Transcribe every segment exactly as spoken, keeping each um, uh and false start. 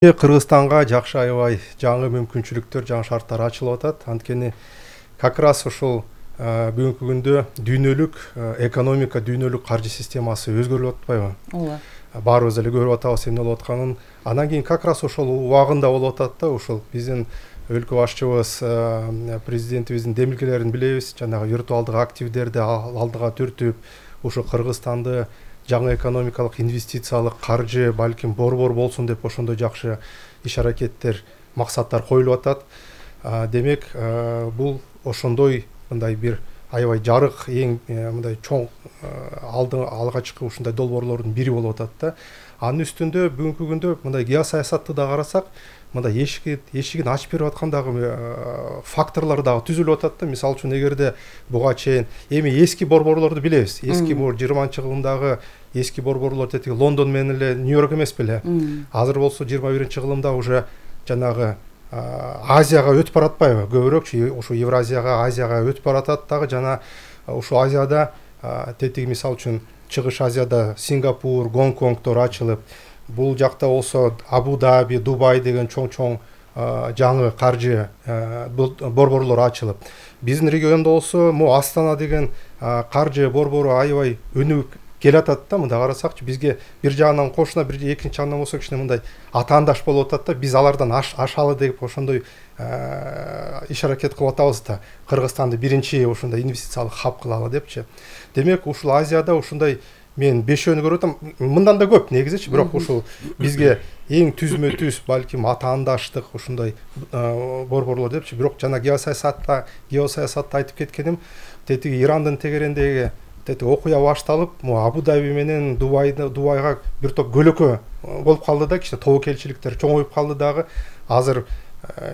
Кыргызстанга жакшы аябай жаңы мүмкүнчүлүктөр, жаңы шарттар ачылып атат. Анткени как раз ушул бүгүнкү күндө дүйнөлүк экономика, дүйнөлүк каржы системасы өзгөрүп атпайбы? Ооба. Баарыбыз эле көрүп атабыз эмне болуп атканын. Анан кийин как раз ошол убагында болуп атат да, ушул биздин өлкө башчыбыз, президентибиздин демилгелерин билебиз. Жанагы виртуалдык активдерди алдыга түртүп, ушу Кыргызстанды жаңы экономикалык, инвестициялык, каржы, балким борбор болсун деп ошондой жакшы иш-аракеттер, максаттар коюлуп атат. Демек, бул ошондой мындай бир аябай жарык, эң мындай чоң алды алгачкы ушундай долбоорлордун бири болуп атат да. Анын үстүндө бүгүнкү күндө мындай геосаясатты да карасак, мындай эшигин эшигин ачып берип аткан дагы факторлор дагы түзүлүп атат да. Мисалы үчүн эгерде буга чейин эми эски борборлорду билебиз. Эски бул жыйырманчы кылымдагы эски борборлор тетиги Лондон менен эле Нью-Йорк эмес беле. Азыр болсо жыйырма биринчи кылымда уже жанагы Азияга өтүп баратпайбы? Көбүрөөкчү ушу Евразияга, Азияга өтүп баратат дагы. Жана ушу Азияда тетиги мисалы үчүн Чыгыш Азияда Сингапур, Гонконгдор ачылып, бул жакта болсо Абу-Даби, Дубай деген чоң-чоң жаңы каржы борборлор ачылып, биздин региондо болсо могу Астана деген каржы борбору аябай өнүгүп келатат да. Мында карасакчы, бизге бир жагынан кошуна, бир экинчи жагынан болсо кичине мындай атаандаш болуп атат да. Биз алардан ашалы деп ошондой иш-аракет кылып атабыз да. Кыргызстанды биринчи ушундай инвестициялык хаб кылалы депчи. Демек, ушул Азияда ушундай мен бешөөнү көрүп атам. Мындан да көп негизичи, бирок ушул бизге эң түзмө түз балким атаандаштык ушундай борборлор депчи. Бирок жана геосаясатта, геосаясатта айтып кеткеним, тетиги Ирандын тегерендеги тетиги окуя башталып, могу Абу-Даби менен Дубайда Дубайга бир топ көлөкө болуп калды да, кичине тобокелчиликтер чоңоюп калды дагы. Азыр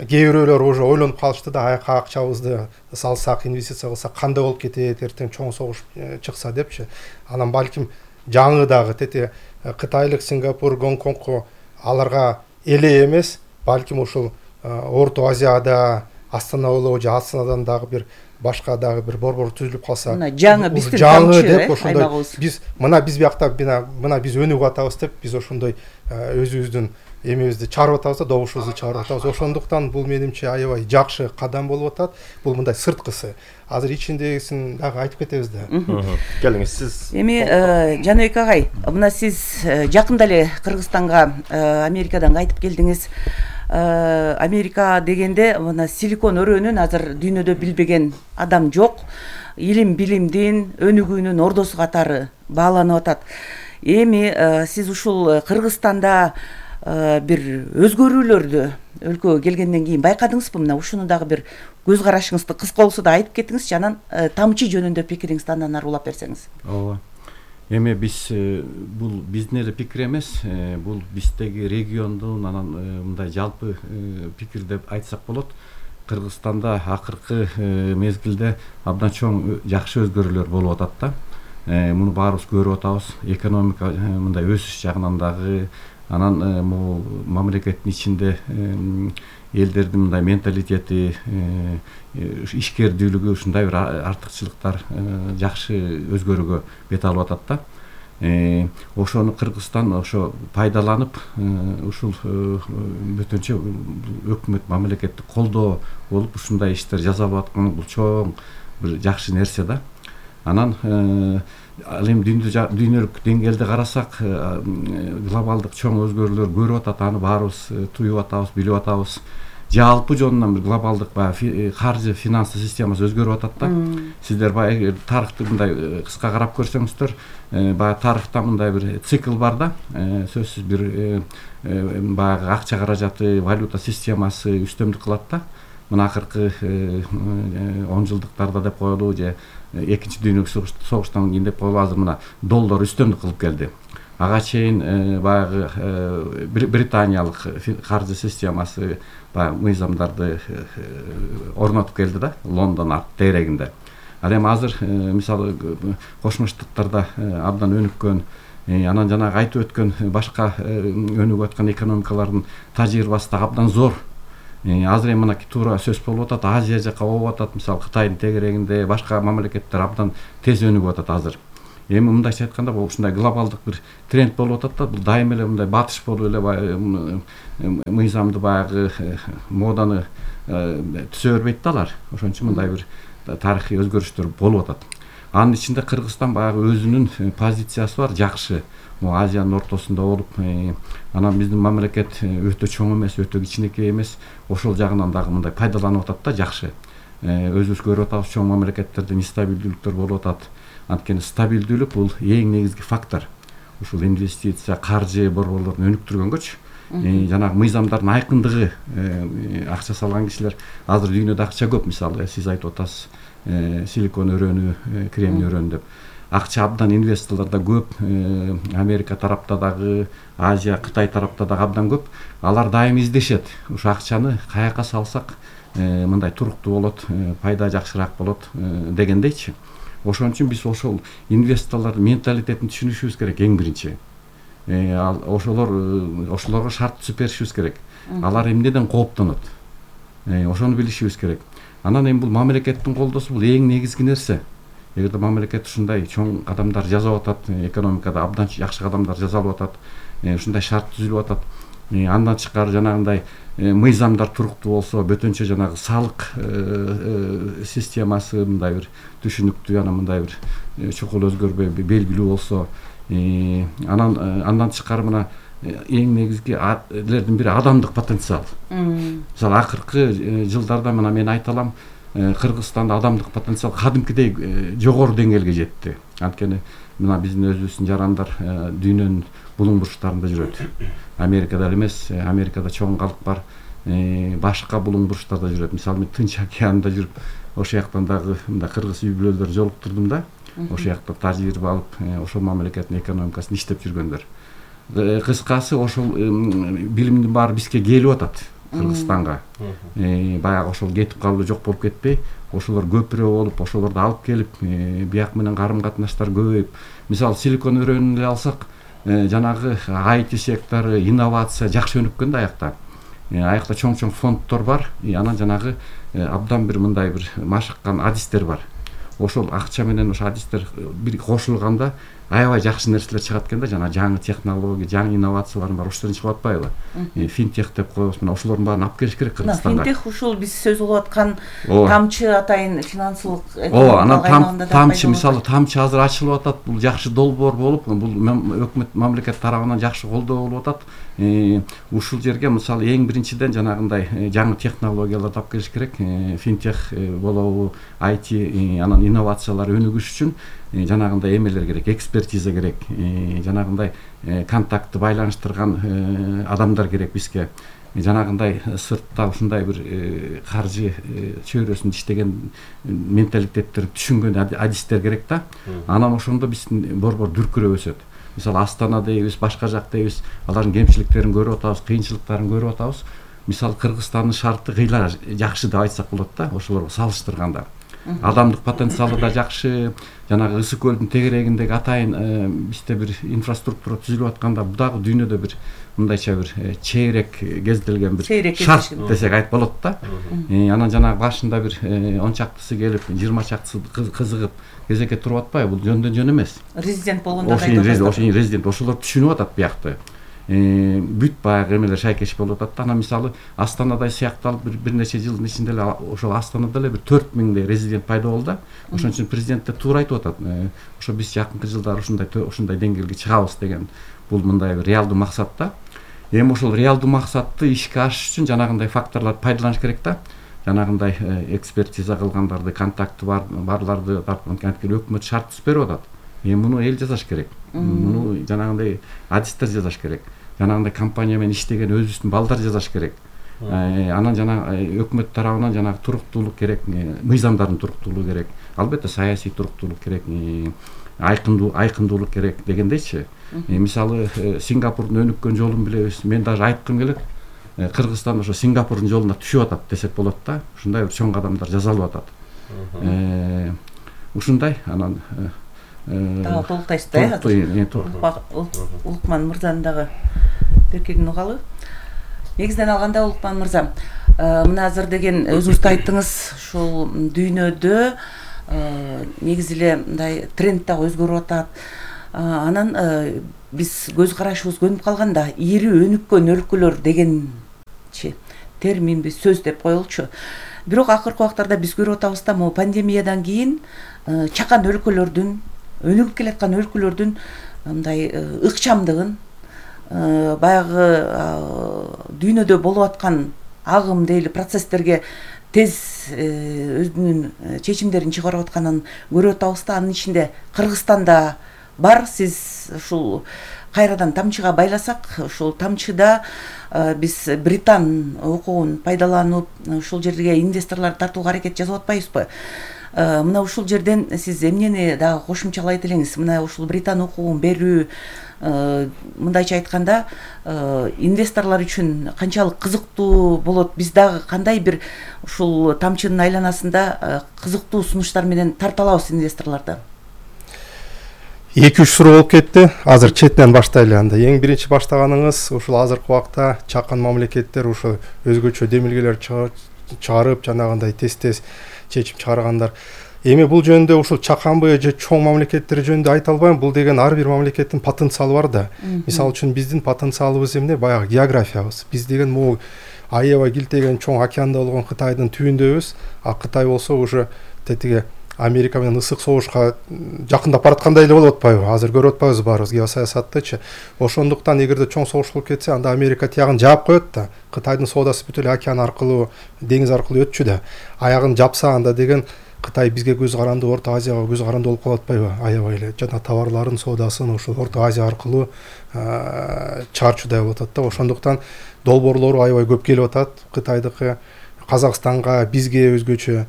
кээ бирөөлөр уже ойлонуп калышты да, аяка акчабызды салсак, инвестиция кылсак кандай болуп кетет, эртең чоң согуш чыкса депчи. Анан балким жаңы дагы тетиги Кытайлык Сингапур, Гонконгко аларга эле эмес, балким ушул Орто Азияда Астана болобу же Астанадан дагы бир башка дагы бир борбор түзүлүп калса, мына жаңы биздин жаңы деп ошондой биз мына биз биякта мына биз өнүгүп атабыз деп биз ошондой өзүбүздүн эмебизди чыгарып атабыз да, добушубузду чыгарып атабыз. Ошондуктан бул менимче аябай жакшы кадам болуп атат. Бул мындай сырткысы. Азыр ичиндегисин дагы айтып кетебиз да. Келиңиз сиз. Эми Жаныбек агай, мына сиз жакында эле Кыргызстанга Америкадан кайтып келдиңиз. Америка дегенде мына Силикон өрөөнүн азыр дүйнөдө билбеген адам жок. Илим билимдин өнүгүүнүн ордосу катары бааланып атат. Эми сиз ушул Кыргызстанда бир өзгөрүүлөрдү өлкөгө келгенден кийин байкадыңызбы? Мына ушуну дагы бир көз карашыңызды кыска болсо да айтып кетиңизчи, анан тамчы жөнүндө пикириңизди андан ары улап берсеңиз. Ооба. Эми биз бул биздин эле пикир эмес, бул биздеги региондун анан мындай жалпы пикир деп айтсак болот. Кыргызстанда акыркы мезгилде абдан чоң жакшы өзгөрүүлөр болуп атат да. Муну баарыбыз көрүп атабыз. Экономика мындай өсүш жагынан дагы, анан могу мамлекеттин ичинде элдердин мындай менталитети, ишкердүүлүгү, ушундай бир артыкчылыктар жакшы өзгөрүүгө бет алып атат да. Ошону Кыргызстан ошо пайдаланып, ушул бүтүнчө өкмөт мамлекеттик колдоо болуп ушундай иштер жасап аткан бул чоң бир жакшы нерсе да. Анан ал эми дүйнөлүк деңгээлде карасак, глобалдык чоң өзгөрүүлөр көрүп атат, аны баарыбыз туюп атабыз, билип атабыз. Жалпы жонунан бир глобалдык баягы каржы финансы системасы өзгөрүп атат да. Сиздер баягы тарыхты мындай кыска карап көрсөңүздөр, баягы тарыхта мындай бир цикл бар да. Сөзсүз бир баягы акча каражаты, валюта системасы үстөмдүк кылат да. Мына акыркы он жылдыктарда деп коелу, же экинчи дүйнөлүк согуштан кийин деп коелу, азыр мына доллар үстөмдүк кылып келди. Ага чейин баягы британиялык каржы системасы баягы мыйзамдарды орнотуп келди да, Лондон арт тегерегинде. Ал эми азыр мисалы Кошмо Штаттарда абдан өнүккөн, анан жанагы айтып өткөн башка өнүгүп аткан экономикалардын тажрыйбасы да абдан зор. Азыр эми мына туура сөз болуп атат, Азия жака болуп атат, мисалы Кытайдын тегерегинде башка мамлекеттер абдан тез өнүгүп атат азыр. эми мындайча айтканда бул ушундай глобалдык бир тренд болуп атат да, бул дайыма эле мындай батыш болуп эле мыйзамды баягы моданы түзө бербейт да алар. Ошон үчүн мындай бир тарыхый өзгөрүштөр болуп атат. Анын ичинде Кыргызстан баягы өзүнүн позициясы бар, жакшы. Могу Азиянын ортосунда болуп, анан биздин мамлекет өтө чоң эмес, өтө кичинекей эмес. Ошол жагынан дагы мындай пайдаланып атат да, жакшы. Өзүбүз көрүп атабыз, чоң мамлекеттерде нестабилдүүлүктөр болуп атат. Анткени стабилдүүлүк бул эң негизги фактор. Ушул инвестиция, каржы борборлорун өнүктүргөнгөчү, жанагы мыйзамдардын айкындыгы, акча салган кишилер азыр дүйнөдө акча көп, мисалы сиз айтып атасыз, силикон өрөөнү, кремний өрөөнү деп. Акча абдан, инвесторлор да көп, Америка тарапта дагы, Азия, Кытай тарапта дагы абдан көп. Алар дайым издешет. Ушу акчаны каяка салсак мындай туруктуу болот, пайда жакшыраак болот дегендейчи. Ошон үчүн биз ошол инвесторлордун менталитетин түшүнүшүбүз керек эң биринчи. Ал ошолор ошолорго шарт түзүп беришибиз керек. Алар эмнеден кооптонот? Ошону билишибиз керек. Анан эми бул мамлекеттин колдосу бул эң негизги нерсе. Эгерде мамлекет ушундай чоң кадамдар жасап атат, экономикада абдан жакшы кадамдар жасалып атат, ушундай шарт түзүлүп атат, андан тышкары жанагындай мыйзамдар туруктуу болсо, бөтөнчө жанагы салык системасы мындай бир түшүнүктүү, анан мындай бир чукул өзгөрбөй белгилүү болсо, анан андан тышкары мына эң негизгилердин бири адамдык потенциал. Мисалы акыркы жылдарда мына мен айта алам, Кыргызстанда адамдык потенциал кадимкидей жогору деңгээлге жетти. Анткени мына биздин өзүбүздүн жарандар дүйнөнүн булуң бурчтарында жүрөт. Америкада эле эмес, Америкада чоң калк бар, башка булуң бурчтарда жүрөт. Мисалы мен Тынч океанында жүрүп, ошол жактан дагы мындай кыргыз үй-бүлөлөрдү жолуктурдум да. Ошол жакта тажрыйба алып, ошол мамлекеттин экономикасын иштеп жүргөндөр. Кыскасы ошол билимдин баары бизге келип атат. Кыргызстанга баягы ошол кетип калуу жок болуп кетпей, ошолор көпүрө болуп, ошолорду алып келип, бияк менен карым катнаштар көбөйүп. Мисалы силикон өрөөнүн эле алсак, жанагы ай ти сектору, инновация жакшы өнүккөн да аякта. Аякта чоң-чоң фонддор бар, анан жанагы абдан бир мындай бир машыккан адистер бар. Ошол акча менен ошол адистер бир кошулганда аябай жакшы нерселер чыгат экен да, жана жаңы технология, жаңы инновациялар бар, ошолордон чыгып атпайбы? Финтех деп коебуз, мына ошолордун баарын алып келиш керек Кыргызстанга. Финтех ушул биз сөз кылып аткан тамчы атайын финансылык Ооба, анан тамчы, мисалы тамчы азыр ачылып атат, бул жакшы долбоор болуп, бул өкмөт мамлекет тарабынан жакшы колдоо болуп атат. Ушул жерге мисалы эң биринчиден жанагындай жаңы технологияларды алып келиш керек. Финтех болобу, ай ти, анан инновациялар өнүгүш үчүн жанагындай эмелер керек, экспертиза керек, жанагындай контактты байланыштырган адамдар керек бизге. Жанагындай сыртта ушундай бир каржы чөйрөсүндө иштеген менталитеттерди түшүнгөн адистер керек да. Анан ошондо биздин борбор дүркүрөп өсөт. Мисалы Астана дейбиз, башка жак дейбиз, алардын кемчиликтерин көрүп атабыз, кыйынчылыктарын көрүп атабыз. Мисалы Кыргызстандын шарты кыйла жакшы деп айтсак болот да, ошолорго салыштырганда. Адамдык потенциалы да жакшы, жанагы Ысык көлдүн тегерегиндеги атайын бизде бир инфраструктура түзүлүп атканда, бул дагы дүйнөдө бир мындайча бир чейрек кезделген бир шарт десек айтып болот да. Анан жанагы башында бир он чактысы келип, жыйырма чактысы кызыгып кезекке туруп атпайбы? Бул жөндөн жөн эмес. Резидент болгондо ошо резидент, ошолор түшүнүп атат биякты. Бүт баягы эмелер шайкеш болуп атат да. Анан мисалы Астанадай сыякталып бир нече жылдын ичинде эле ошол Астанада эле бир төрт миңдей резидент пайда болду да. Ошон үчүн президент да туура айтып атат. Ошо биз жакынкы жылдары ушундай ушундай деңгээлге чыгабыз деген. Бул мындай бир реалдуу максат да. Эми ошол реалдуу максатты ишке ашыш үчүн жанагындай факторлорду пайдаланыш керек да. Жанагындай экспертиза кылгандарды, контакты барларды анткени өкмөт шарт түзүп берип атат. Эми муну эл жасаш керек. Муну жанагындай адистер жасаш керек. Жанагындай компания менен иштеген өзүбүздүн балдар жасаш керек. Анан жана өкмөт тарабынан жанагы туруктуулук керек, мыйзамдардын туруктуулугу керек. Албетте саясий туруктуулук керек, айкындуу айкындуулук керек дегендейчи. Мисалы Сингапурдун өнүккөн жолун билебиз. Мен даже айткым келет. Кыргызстан ошо Сингапурдун жолуна түшүп атат десек болот да. Ушундай бир чоң кадамдар жасалып атат. Ушундай анан дагы толуктайсыз да. Улукман мырзанын дагы беркегин угалы. Негизинен алганда Улукман мырза, мына азыр деген өзүңүз да айттыңыз, ушул дүйнөдө негизи эле мындай тренд дагы өзгөрүп атат. Анан биз көз карашыбыз көнүп калганда ири өнүккөн өлкөлөр дегенчи терминби сөз деп коелучу. Бирок акыркы убактарда биз көрүп атабыз да, могу пандемиядан кийин чакан өлкөлөрдүн, өнүгүп келаткан өлкөлөрдүн мындай ыкчамдыгын, баягы дүйнөдө болуп аткан агым дейли процесстерге тез өзүнүн чечимдерин чыгарып атканын көрүп атабыз да. Анын ичинде Кыргызстанда бар. Сиз ушул кайрадан тамчыга байласак, ушул тамчыда биз Британ укугун пайдаланып ушул жерге инвесторлорду тартууга аракет жасап атпайбызбы? Мына ушул жерден сиз эмнени дагы кошумчалайт элеңиз? Мына ушул Британ укугун берүү, мындайча айтканда, инвесторлор үчүн канчалык кызыктуу болот? Биз дагы кандай бир ушул тамчынын айланасында кызыктуу сунуштар менен тарта алабыз инвесторлорду? эки үч суроо болуп кетти. Азыр четинен баштайлы. Анда эң биринчи баштаганыңыз ушул азыркы убакта чакан мамлекеттер ушул өзгөчө демилгелер чыгарып, жанагындай тез-тез чечим чыгаргандар. Эми бул жөнүндө ушул чаканбы же чоң мамлекеттер жөнүндө айта албайм. Бул деген ар бир мамлекеттин потенциалы бар да. Мисалы үчүн биздин потенциалыбыз эмне? Баягы географиябыз. Биз деген могу аябай килтеген чоң океанда болгон Кытайдын түбүндөбүз. А Кытай болсо уже тетиге Америка менен ысык согушка жакындап бараткандай эле болуп атпайбы? Азыр көрүп атпайбызбы баарыбыз геосаясаттычы. Ошондуктан эгерде чоң согуш болуп кетсе, анда Америка тиягын жаап коет да. Кытайдын соодасы бүт эле океан аркылуу, деңиз аркылуу өтчү да. Аягын жапса, анда деген Кытай бизге көз каранды, Орто Азияга көз каранды болуп калып атпайбы? Аябай эле жана товарларын соодасын ушул Орто Азия аркылуу чыгарчудай болуп атат да. Ошондуктан долбоорлору аябай көп келип атат. Кытайдыкы Казакстанга, бизге өзгөчө.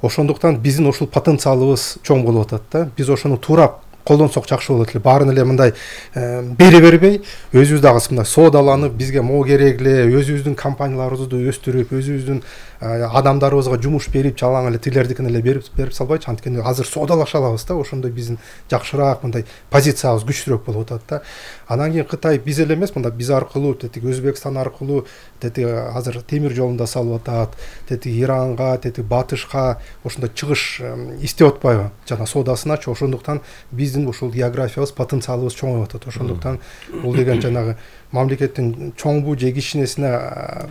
Ошондуктан биздин ушул потенциалыбыз чоң болуп атат да. Биз ошону туура колдонсок жакшы болот эле. Баарын эле мындай бере бербей, өзүбүз дагы мындай соодаланып, бизге могу керек эле, өзүбүздүн компанияларыбызды өстүрүп, өзүбүздүн адамдарыбызга жумуш берип, жалаң эле тилердикин эле берип берип салбайчы. Анткени азыр соодалаша алабыз да. Ошондо биздин жакшыраак мындай позициябыз күчтүүрөөк болуп атат да. Анан кийин Кытай биз эле эмес, мында биз аркылуу, тетиги Өзбекстан аркылуу, тетиги азыр темир жолун да салып атат, тетиги Иранга, тетиги Батышка ошондой чыгыш издеп атпайбы? Жана соодасыначы. Ошондуктан биздин ушул географиябыз, потенциалыбыз чоңоюп атат. Ошондуктан бул деген жанагы мамлекеттин чоңбу же кичинесине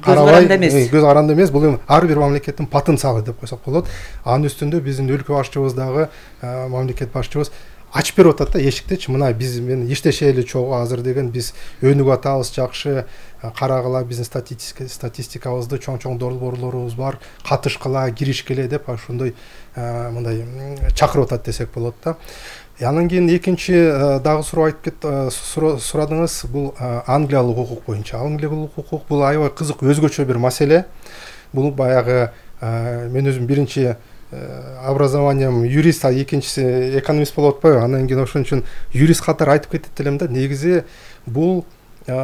карабай, көз каранды эмес, бул эми ар бир мамлекеттин потенциалы деп койсок болот. Анын үстүндө биздин өлкө башчыбыз дагы, мамлекет башчыбыз ачып берип атат да эшиктичи. Мына биз менен иштешели чогуу, азыр деген биз өнүгүп атабыз, жакшы карагыла, биздин статистикабызды, чоң-чоң долбоорлорубуз бар, катышкыла, киришкеле деп ошондой мындай чакырып атат десек болот да. Анан кийин экинчи дагы суроо айтып кет сурадыңыз, бул англиялык укук боюнча. Англиялык укук бул аябай кызык, өзгөчө бир маселе. Бул баягы мен өзүм биринчи образованием юрист, а экинчиси экономист болуп атпайбы? Анан кийин ошон үчүн юрист катары айтып кетет элем да. Негизи бул эл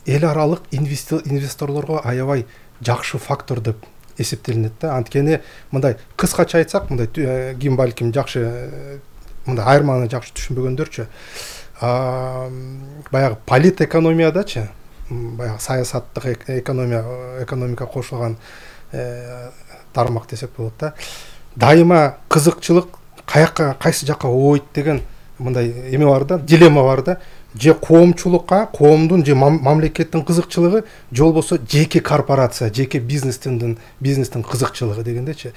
аралык инвесторлорго аябай жакшы фактор деп эсептелинет да. Анткени мындай кыскача айтсак, мындай ким балким жакшы мындай айырманы жакшы түшүнбөгөндөрчү, баягы политэкономиядачы, баягы саясаттык экономия, экономика кошулган тармак десек болот да. Дайыма кызыкчылык каяка, кайсы жакка ойт деген мындай эме бар да, дилемма бар да. Же коомчулукка, коомдун же мамлекеттин кызыкчылыгы, же болбосо жеке корпорация, жеке бизнестин бизнестин кызыкчылыгы дегендечи.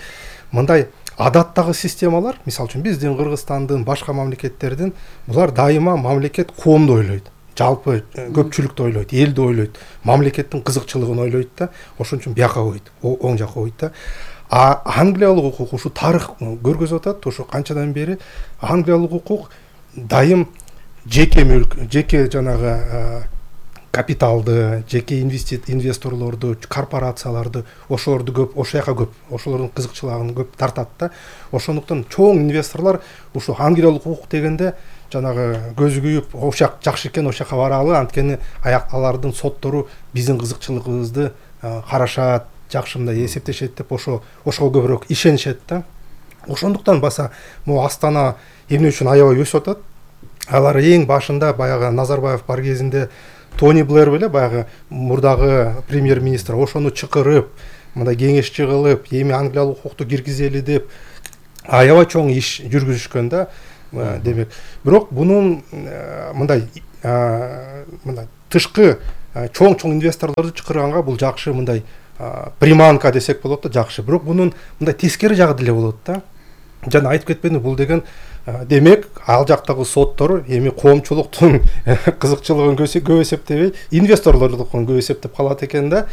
Мындай адаттагы системалар, мисалы үчүн биздин, Кыргызстандын, башка мамлекеттердин, булар дайыма мамлекет коомду ойлойт. Жалпы көпчүлүктү ойлойт, элди ойлойт, мамлекеттин кызыкчылыгын ойлойт да. Ошон үчүн бияка ойт, оң жака ойт да. А англиялык укук ушу тарых көргөзүп атат, ошо канчадан бери англиялык укук дайым жеке мүлк, жеке жанагы капиталды, жеке инвесторлорду, корпорацияларды, ошолорду көп, ошол жака көп, ошолордун кызыкчылыгын көп тартат да. Ошондуктан чоң инвесторлор ушу англиялык укук дегенде жанагы көзү күйүп, ошол жак жакшы экен, ошол жака баралы, анткени аяк алардын соттору биздин кызыкчылыгыбызды карашат, жакшы мындай эсептешет деп ошо ошого көбүрөөк ишенишет да. Ошондуктан баса могу Астана эмне үчүн аябай өсүп атат? Алар эң башында баягы Назарбаев бар кезинде Тони Блэр беле, баягы мурдагы премьер-министр, ошону чакырып, мындай кеңешчи кылып, эми англиялык укукту киргизели деп аябай чоң иш жүргүзүшкөн да. Демек, бирок бунун мындай мындай тышкы чоң-чоң инвесторлорду чакырганга бул жакшы мындай приманка десек болот да, жакшы. Бирок бунун мындай тескери жагы деле болот да. Жана айтып кетпедимби, бул деген демек ал жактагы соттор эми коомчулуктун кызыкчылыгын көп эсептебей, инвесторлордукун көп эсептеп калат экен да.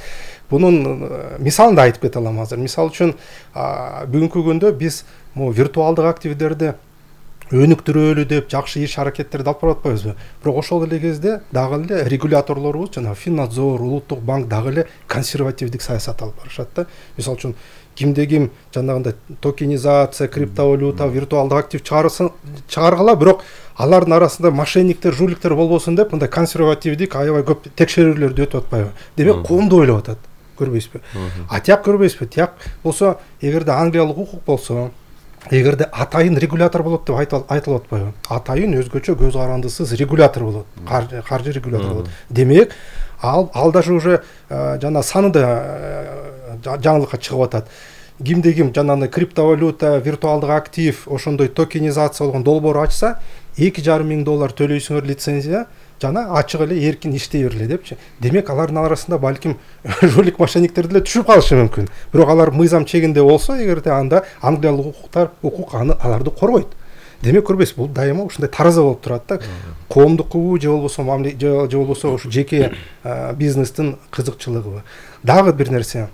Бунун мисалын да айтып кете алам азыр. Мисал үчүн бүгүнкү күндө биз могу виртуалдык активдерди өнүктүрөлү деп жакшы иш аракеттерди алып барып атпайбызбы? Бирок ошол эле кезде дагы эле регуляторлорубуз, жана Финнадзор, Улуттук банк дагы эле консервативдик саясат алып барышат да. Мисал үчүн кимде ким жанагындай токенизация, криптовалюта, виртуалдык актив чыгарсын, чыгаргыла, бирок алардын арасында мошенниктер, жуликтер болбосун деп мындай консервативдик аябай көп текшерүүлөрдү өтүп атпайбы? Демек коомду ойлоп атат. Көрбөйсүзбү? А тияк көрбөйсүзбү? Тияк болсо, эгерде англиялык укук болсо, эгерде атайын регулятор болот деп айтылып атпайбы? Атайын өзгөчө көз карандысыз регулятор болот, каржы регулятор болот. Демек, ал ал даже уже жана саны да жаңылыкка чыгып атат. Кимде ким жанагындай криптовалюта, виртуалдык актив, ошондой токенизация болгон долбоор ачса, эки жарым миң доллар төлөйсүңөр лицензия, жана ачык эле эркин иштей бергиле депчи. Демек, алардын арасында балким жулик мошенниктер деле түшүп калышы мүмкүн. Бирок алар мыйзам чегинде болсо, эгерде анда англиялык укуктар, укук аны аларды коргойт. Демек, көрбөйсүз, бул дайыма ушундай тараза болуп турат да. Коомдукубу же болбосо же болбосо ушу жеке бизнестин кызыкчылыгыбы. Дагы бир нерсе.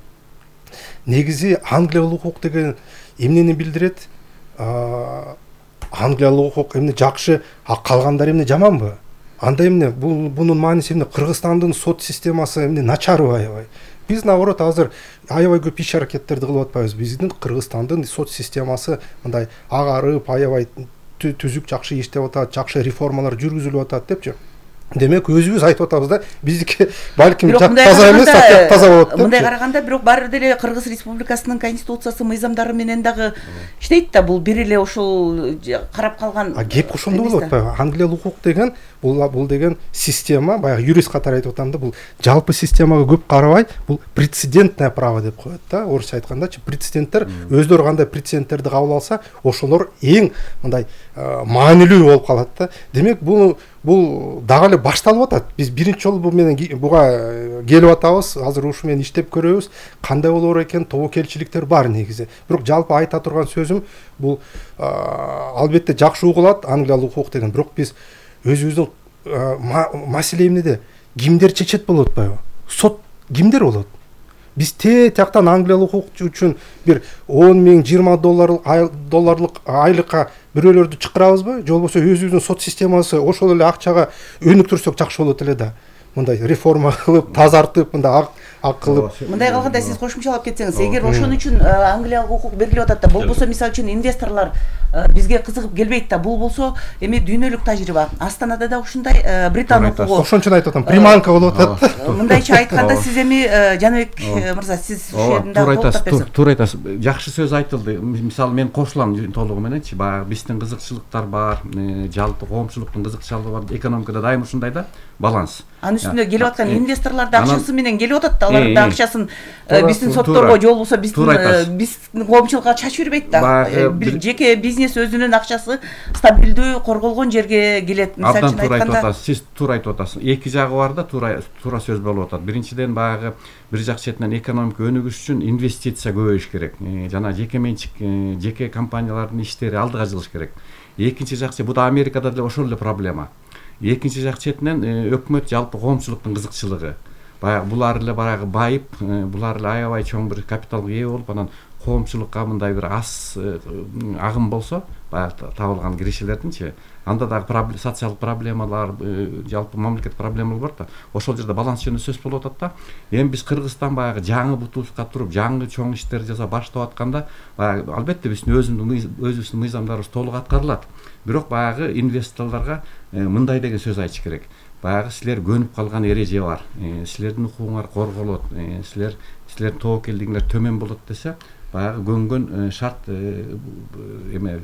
Негизи англиялык укук деген эмнени билдирет? Англиялык укук эмне жакшы, а калгандары эмне жаманбы? Анда эмне бул бунун мааниси эмне? Кыргызстандын сот системасы эмне начарбы аябай? Биз наоборот азыр аябай көп иш аракеттерди кылып атпайбыз. Биздин Кыргызстандын сот системасы мындай агарып, аябай түзүк жакшы иштеп атат, жакшы реформалар жүргүзүлүп атат депчи. Демек, өзүбүз айтып атабыз да, биздики балким таза эмес, таза болот деп. Мындай караганда, бирок баары деле Кыргыз Республикасынын конституциясы, мыйзамдары менен дагы иштейт да, бул бир эле ошол карап калган. А кеп ошондо болуп атпайбы? Англиялык укук деген бул бул деген система, баягы юрист катары айтып атам да, бул жалпы системага көп карабай, бул прецедентное право деп коет да, орусча айткандачы. Прецеденттер өздөрү кандай прецеденттерди кабыл алса, ошолор эң мындай маанилүү болуп калат да. Демек, бул бул дагы эле башталып атат. Биз биринчи жолу бу менен буга келип атабыз, азыр ушу менен иштеп көрөбүз. Кандай болор экен, тобокелчиликтер бар негизи. Бирок жалпы айта турган сөзүм, бул албетте жакшы угулат англиялык укук деген, бирок биз өзүбүздүн маселе эмнеде? Кимдер чечет болуп атпайбы? Сот кимдер болот? Биз те тияктан англиялык укук үчүн бир он миң, жыйырма долларлык айлыкка бирөөлөрдү чакырабызбы? Же болбосо өзүбүздүн сот системасы ошол эле акчага өнүктүрсөк жакшы болот эле да. Мындай реформа кылып, тазартып, мындай ак кылып. Мындай кылганда сиз кошумчалап кетсеңиз, эгер ошон үчүн англиялык укук берилип атат да, болбосо мисалы үчүн инвесторлор бизге кызыгып келбейт да, бул болсо эми дүйнөлүк тажрыйба. Астанада да ушундай Британ укугу. Ошон үчүн айтып атам, приманка болуп атат. Мындайча айтканда, сиз эми Жаныбек мырза, сиз ушул жерден туура айтасыз, туура айтасыз. Жакшы сөз айтылды. Мисалы, мен кошулам толугу мененчи. Баягы биздин кызыкчылыктар бар, жалпы коомчулуктун кызыкчылыгы бар. Экономикада дайым ушундай да, баланс. Анын үстүнө келип аткан инвесторлор да акчасы менен келип атат да, алар да акчасын биздин сотторго же болбосо биздин биздин коомчулукка чачып жүрбөйт да. Жеке бизнес өзүнүн акчасы стабилдүү корголгон жерге келет. Мисалы үчүн айтканда, сиз туура айтып атасыз. Эки жагы бар да, туура туура сөз болуп атат. Биринчиден, баягы бир жак четинен экономика өнүгүш үчүн инвестиция көбөйүш керек. Жана жеке менчик, жеке компаниялардын иштери алдыга жылыш керек. Экинчи жак, бу да Америкада деле ошол эле проблема. Экинчи жак четинен өкмөт жалпы коомчулуктун кызыкчылыгы. Баягы булар эле баягы байып, булар эле аябай чоң бир капиталга ээ болуп, анан коомчулукка мындай бир аз агым болсо, баягы табылган киришелердинчи, анда дагы социалдык проблемалар, жалпы мамлекет проблемалар бар да. Ошол жерде баланс жөнүндө сөз болуп атат да. Эми биз Кыргызстан баягы жаңы бутубузга туруп, жаңы чоң иштерди жасап баштап атканда, баягы албетте биздин өзүбүздүн мыйзамдарыбыз толук аткарылат. Бирок баягы инвесторлорго мындай деген сөз айтыш керек. Баягы силер көнүп калган эреже бар. Силердин укугуңар корголот. Силер силердин тобокелдигиңер төмөн болот десе, баягы көнгөн шарт эме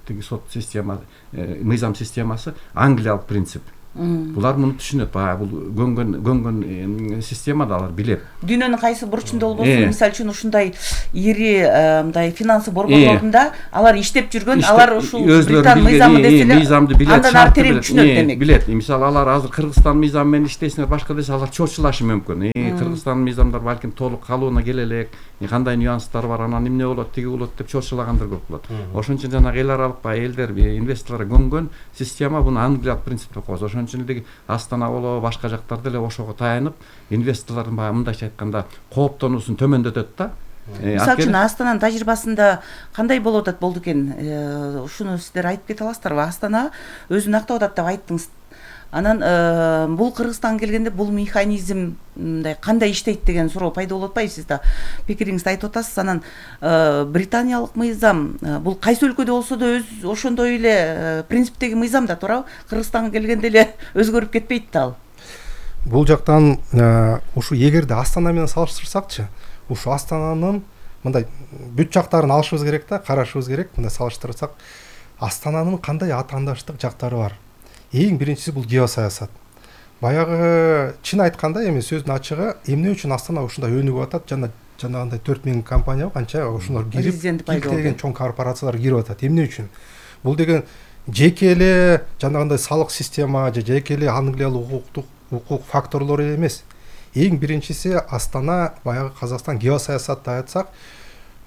тиги сот система, мыйзам системасы англиялык принцип. Булар муну түшүнөт, баягы бул көнгөн көнгөн системада алар билет. Дүйнөнүн кайсы бурчунда болбосун, мисалы үчүн ушундай ири мындай финансы борборлорунда алар иштеп жүргөн, алар ушул Британ мыйзамы деселе андан ары терең түшүнөт демек. Билет. Мисалы алар азыр Кыргызстан мыйзамы менен иштейсиңер, башка десе алар чочулашы мүмкүн. Кыргызстан мыйзамдар балким толук калыбына келе элек, кандай нюанстар бар, анан эмне болот, тиги болот деп чочулагандар көп болот. Ошон үчүн жанагы эл аралык баягы элдер, инвесторлор көнгөн система буну англиялык принципте коёбуз. Ошон үчүн эле Астана болобу, башка жактар деле ошого таянып, инвесторлордун баягы мындайча айтканда кооптонуусун төмөндөтөт да. Мисалы үчүн Астананын тажрыйбасында кандай болуп атат болду экен? Ушуну сиздер айтып кете аласыздарбы? Астана өзүн актап атат деп айттыңыз. Анан бул Кыргызстанга келгенде бул механизм мындай кандай иштейт деген суроо пайда болуп атпайбы? Сиз да пикириңизди айтып атасыз. Анан британиялык мыйзам бул кайсы өлкөдө болсо да өз ошондой эле принциптеги мыйзам да туурабы? Кыргызстанга келгенде эле өзгөрүп кетпейт да ал. Бул жактан ушу эгерде Астана менен салыштырсакчы, ушу Астананын мындай бүт жактарын алышыбыз керек да, карашыбыз керек. Мындай салыштырсак, Астананын кандай атаандаштык жактары бар? Эң биринчиси бул геосаясат. Баягы чын айтканда эми сөздүн ачыгы, эмне үчүн Астана ушундай өнүгүп атат? Жана жанагындай төрт миң компания канча ошолор кирип, деген чоң корпорациялар кирип атат. Эмне үчүн? Бул деген жеке эле жанагындай салык система же жеке эле англиялык укуктук укук факторлору эмес. Эң биринчиси Астана баягы Казакстан геосаясатты айтсак,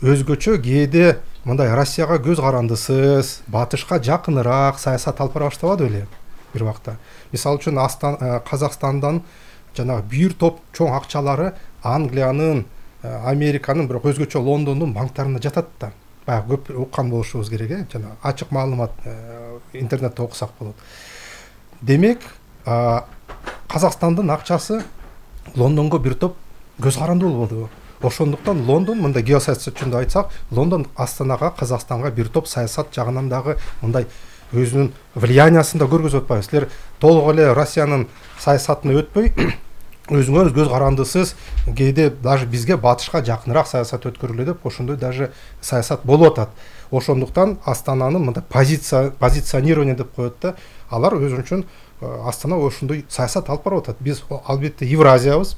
өзгөчө кээде мындай Россияга көз карандысыз, батышка жакыныраак саясат алып бара баштабады беле бир убакта. Мисалы үчүн Казакстандан жанагы бир топ чоң акчалары Англиянын, Американын, бирок өзгөчө Лондондун банктарына жатат да. Баягы көп уккан болушубуз керек, э, жана ачык маалымат интернетте окусак болот. Демек, Казакстандын акчасы Лондонго бир топ көз каранды болду. Ошондуктан Лондон, мындай геосаясат жөнүндө айтсак, Лондон Астанага, Казакстанга бир топ саясат жагынан дагы мындай өзүнүн влияниясын да көргөзүп атпайбы. Силер толук эле Россиянын саясатына өтпөй, өзүңөр көз карандысыз, кээде даже бизге батышка жакыныраак саясат өткөрүлө деп, ошондой даже саясат болуп атат. Ошондуктан Астананын мындай позиция позиционирование деп коет да, алар өзүнүн үчүн Астана ошондой саясат алып барып атат. Биз албетте Евразиябыз,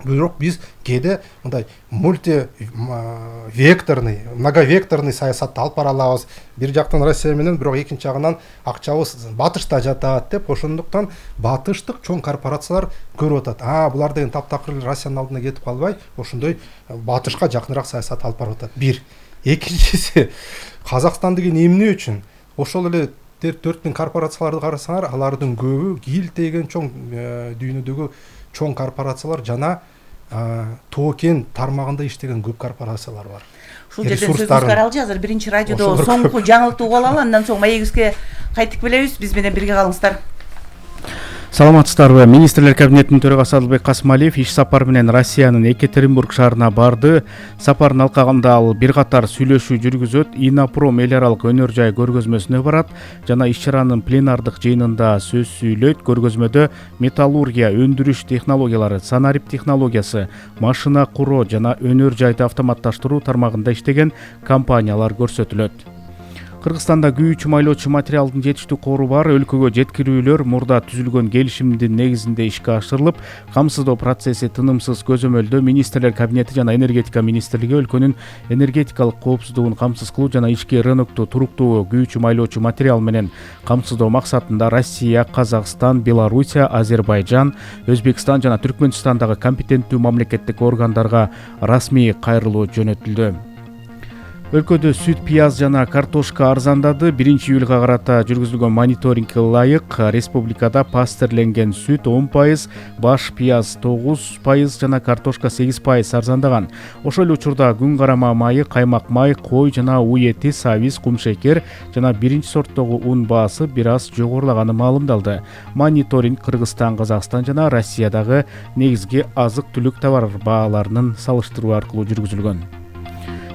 бирок биз кээде мындай мультивекторный, многовекторный саясатты алып бара алабыз. Бир жактан Россия менен, бирок экинчи жагынан акчабыз батышта жатат деп, ошондуктан батыштык чоң корпорациялар көрүп атат. А, булар деген таптакыр Россиянын алдына кетип калбай, ошондой батышка жакыныраак саясат алып барып атат. Бир. Экинчиси, Казакстан деген эмне үчүн? Ошол эле төрт миң корпорацияларды карасаңар, алардын көбү кийлтеген чоң дүйнөдөгү чоң корпорациялар жана токен тармагында иштеген көп корпорациялар бар. Ушул жерден сөзүбүз каралжы, азыр биринчи радиодо соңку жаңылыкты угуп алалы, андан соң маегибизге кайтып келебиз. Биз менен бирге калыңыздар. Саламатсыздарбы? Министрлер кабинетинин төрагасы Адылбек Касымалиев иш сапары менен Россиянын Екатеринбург шаарына барды. Сапардын алкагында ал бир катар сүйлөшүү жүргүзөт, Инопром эл аралык өнөр жай көргөзмөсүнө барат жана иш-чаранын пленардык жыйынында сөз сүйлөйт. Көргөзмөдө металлургия, өндүрүш технологиялары, санарип технологиясы, машина куроо жана өнөр жайды автоматташтыруу тармагында иштеген компаниялар көрсөтүлөт. Кыргызстанда күйүүчү майлоочу материалдын жетиштүү кору бар. Өлкөгө жеткирүүлөр мурда түзүлгөн келишимдин негизинде ишке ашырылып, камсыздоо процесси тынымсыз көзөмөлдөө. Министрлер кабинети жана энергетика министрлиги өлкөнүн энергетикалык коопсуздугун камсыз кылуу жана ички рынокту туруктуу күйүүчү майлоочу материал менен камсыздоо максатында Россия, Казакстан, Белоруссия, Азербайжан, Өзбекстан жана Түркмөнстандагы компетенттүү мамлекеттик органдарга расмий кайрылуу жөнөтүлдү. Өлкөдө сүт, пияз жана картошка арзандады. биринчи июлга карата жүргүзүлгөн мониторингге ылайык республикада пастерленген сүт он пайыз, баш пияз тогуз пайыз жана картошка сегиз пайыз арзандаган. Ошол эле учурда күн карама майы, каймак май, кой жана уу эти, сабиз, кумшекер жана биринчи сорттогу ун баасы бир аз жогорулаганы маалымдалды. Мониторинг Кыргызстан, Казакстан жана Россиядагы негизги азык-түлүк товар бааларынын салыштыруу аркылуу жүргүзүлгөн.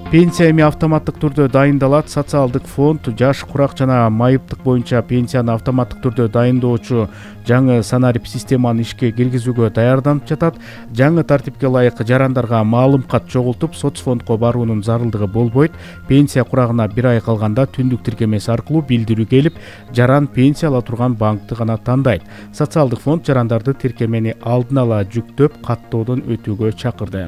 Пенсия эми автоматтык түрдө дайындалат. Социалдык фонд жаш, курак жана майыптык боюнча пенсияны автоматтык түрдө дайындоочу жаңы санарип системаны ишке киргизүүгө даярданып жатат. Жаңы тартипке ылайык жарандарга маалым кат чогултуп, соцфондко баруунун зарылдыгы болбойт. Пенсия курагына бир ай калганда түндүк тиркемеси аркылуу билдирүү келип, жаран пенсия ала турган банкты гана тандайт. Социалдык фонд жарандарды тиркемени алдын ала жүктөп, каттоодон өтүүгө чакырды.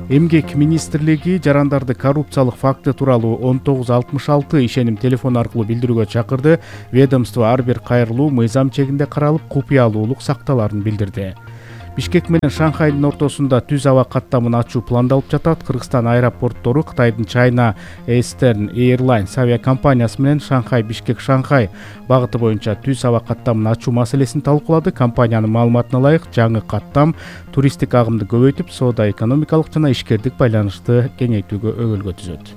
Эмгек министрлиги жарандарды коррупциялык факты тууралуу он тогуз алтымыш алты ишеним телефон аркылуу билдирүүгө чакырды. Ведомство ар бир кайрылуу мыйзам чегинде каралып, купуялуулук сакталарын билдирди. Бишкек менен Шанхайдын ортосунда түз аба каттамын ачуу пландалып жатат. Кыргызстан аэропорттору Кытайдын China Eastern Airlines авиакомпаниясы менен Шанхай Бишкек Шанхай багыты боюнча түз аба каттамын ачуу маселесин талкуулады. Компаниянын маалыматына ылайык, жаңы каттам туристтик агымды көбөйтүп, соода экономикалык жана ишкердик байланышты кеңейтүүгө өбөлгө түзөт.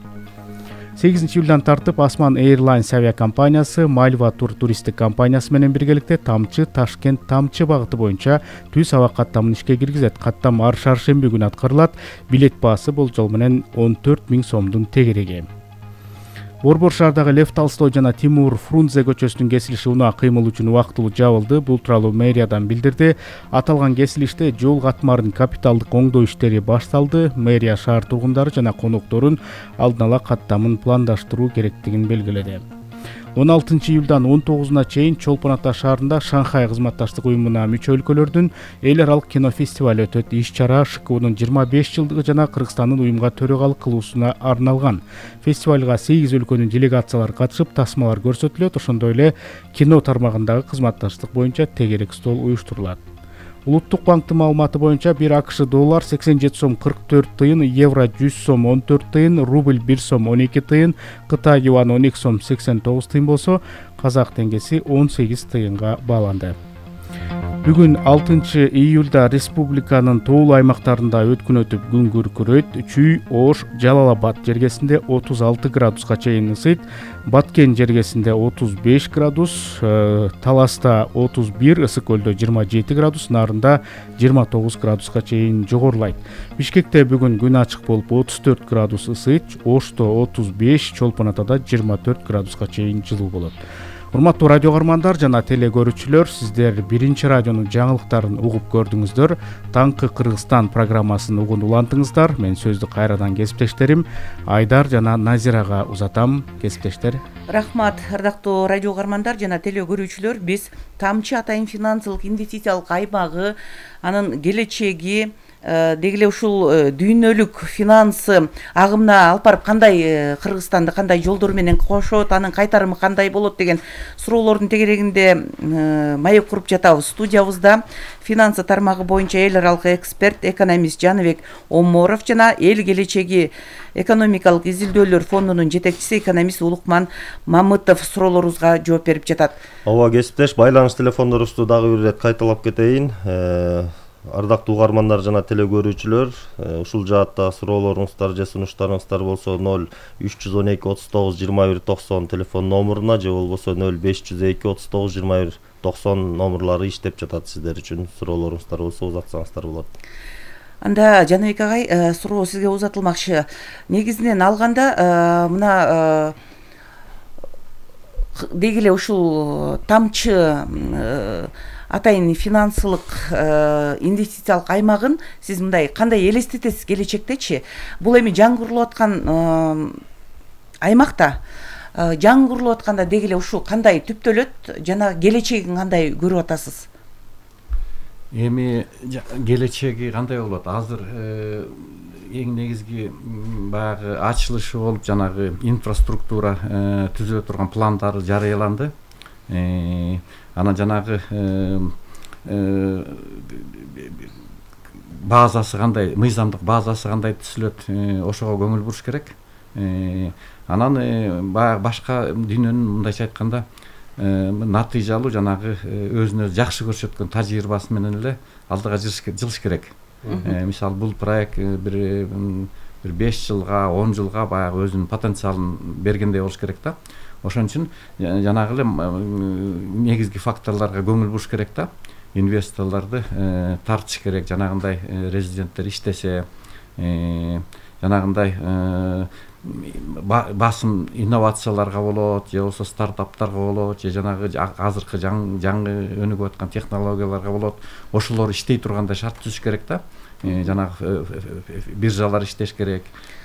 сегизинчи июлдан тартып Осман Airlines авиакомпаниясы Мальва тур туристтик компаниясы менен биргеликте Тамчы Ташкент Тамчы багыты боюнча түз аба каттамын ишке киргизет. Каттам ар шаршемби күнү аткарылат. Билет баасы болжол менен он төрт миң сомдун тегереги. Борбор шаардагы Лев Толстой жана Тимур Фрунзе көчөсүнүн кесилиши унаа кыймыл үчүн убактылуу жабылды. Бул тууралуу мэриядан билдирди. Аталган кесилиште жол катмарынын капиталдык оңдоо иштери башталды. Мэрия шаар тургундары жана конокторун алдын ала каттамын пландаштыруу керектигин белгиледи. он алтынчы июлдан он тогузуна чейин Чолпон Ата шаарында Шанхай кызматташтык уюмуна мүчө өлкөлөрдүн эл аралык кино фестиваль өтөт. Иш-чара ШКУнун жыйырма беш жылдыгы жана Кыргызстандын уюмга төрагалык кылуусуна арналган. Фестивалга сегиз өлкөнүн делегациялары катышып, тасмалар көрсөтүлөт. Ошондой эле кино тармагындагы кызматташтык боюнча тегерек стол уюштурулат. Улуттук банктын маалыматы боюнча бир АКШ доллар сексен жети сом кырк төрт тыйын, евро жүз сом он төрт тыйын, рубль бир сом он эки тыйын, Кытай юан он эки сом сексен тогуз тыйын болсо, казак теңгеси он сегиз тыйынга бааланды. Бүгүн алтынчы июлда республиканын тоолуу аймактарында өткүн өтүп күн күркүрөйт. Чүй, Ош, Жалал Абад жергесинде отуз алты градуска чейин ысыйт. Баткен жергесинде отуз беш градус, Таласта отуз бир, Ысык көлдө жыйырма жети градус, Нарында жыйырма тогуз градуска чейин жогорулайт. Бишкекте бүгүн күн ачык болуп отуз төрт градус ысыйт. Ошто отуз беш, Чолпон Атада жыйырма төрт градуска чейин жылуу болот. Урматтуу радио каармандар жана теле көрүүчүлөр, сиздер биринчи радионун жаңылыктарын угуп көрдүңүздөр. Таңкы Кыргызстан программасын угуп улантыңыздар. Мен сөздү кайрадан кесиптештерим Айдар жана Назирага узатам. Кесиптештер, Рахмат, ардактуу радио каармандар жана теле көрүүчүлөр. Биз Тамчы Атайын финансылык инвестициялык аймагы, анын келечеги, деги эле ушул дүйнөлүк финансы агымына алып барып кандай Кыргызстанды кандай жолдор менен кошот, анын кайтарымы кандай болот деген суроолордун тегерегинде маек куруп жатабыз. Студиябызда финансы тармагы боюнча эл аралык эксперт, экономист Жаныбек Оморов жана эл келечеги экономикалык изилдөөлөр фондунун жетекчиси экономист Улукман Мамытов суроолорубузга жооп берип жатат. Ооба, кесиптеш, байланыш телефондорубузду дагы бир ирет кайталап кетейин. Ардактуу угармандар жана теле көрүүчүлөр, ушул жаатта суроолоруңуздар же сунуштарыңыздар болсо ноль үч жүз он эки отуз тогуз жыйырма бир токсон телефон номуруна же болбосо ноль беш жүз эки отуз тогуз жыйырма бир токсон номурлары иштеп жатат. Сиздер үчүн суроолоруңуздар болсо узатсаңыздар болот. Анда Жаныбек агай, суроо сизге узатылмакчы. Негизинен алганда мына деги эле ушул Тамчы Атайын финансылык инвестициялык аймагын сиз мындай кандай элестетесиз келечектечи? Бул эми жаңгырылып аткан аймакта жаңгырылып атканда деги эле ушул кандай түптөлөт жана келечегин кандай көрүп атасыз? Эми келечеги кандай болот? Азыр эң негизги баягы ачылышы болуп жанагы инфраструктура түзүлө турган пландары жарыяланды. Анан жанагы базасы кандай, мыйзамдык базасы кандай түзүлөт, ошого көңүл буруш керек. Анан баягы башка дүйнөнүн мындайча айтканда натыйжалуу жанагы өзүн өзү жакшы көрсөткөн тажрыйбасы менен эле алдыга жылыш керек. Мисалы бул проект бир бир беш жылга, он жылга баягы өзүнүн потенциалын бергендей болуш керек да. Ошон үчүн жанагы эле негизги факторлорго көңүл буруш керек да. Инвесторлорду тартыш керек, жанагындай резиденттер иштесе, жанагындай басым инновацияларга болот, же болбосо стартаптарга болот, же жанагы азыркы жаңы өнүгүп аткан технологияларга болот. Ошолор иштей тургандай шарт түзүш керек да. Жанагы биржалар иштеш керек.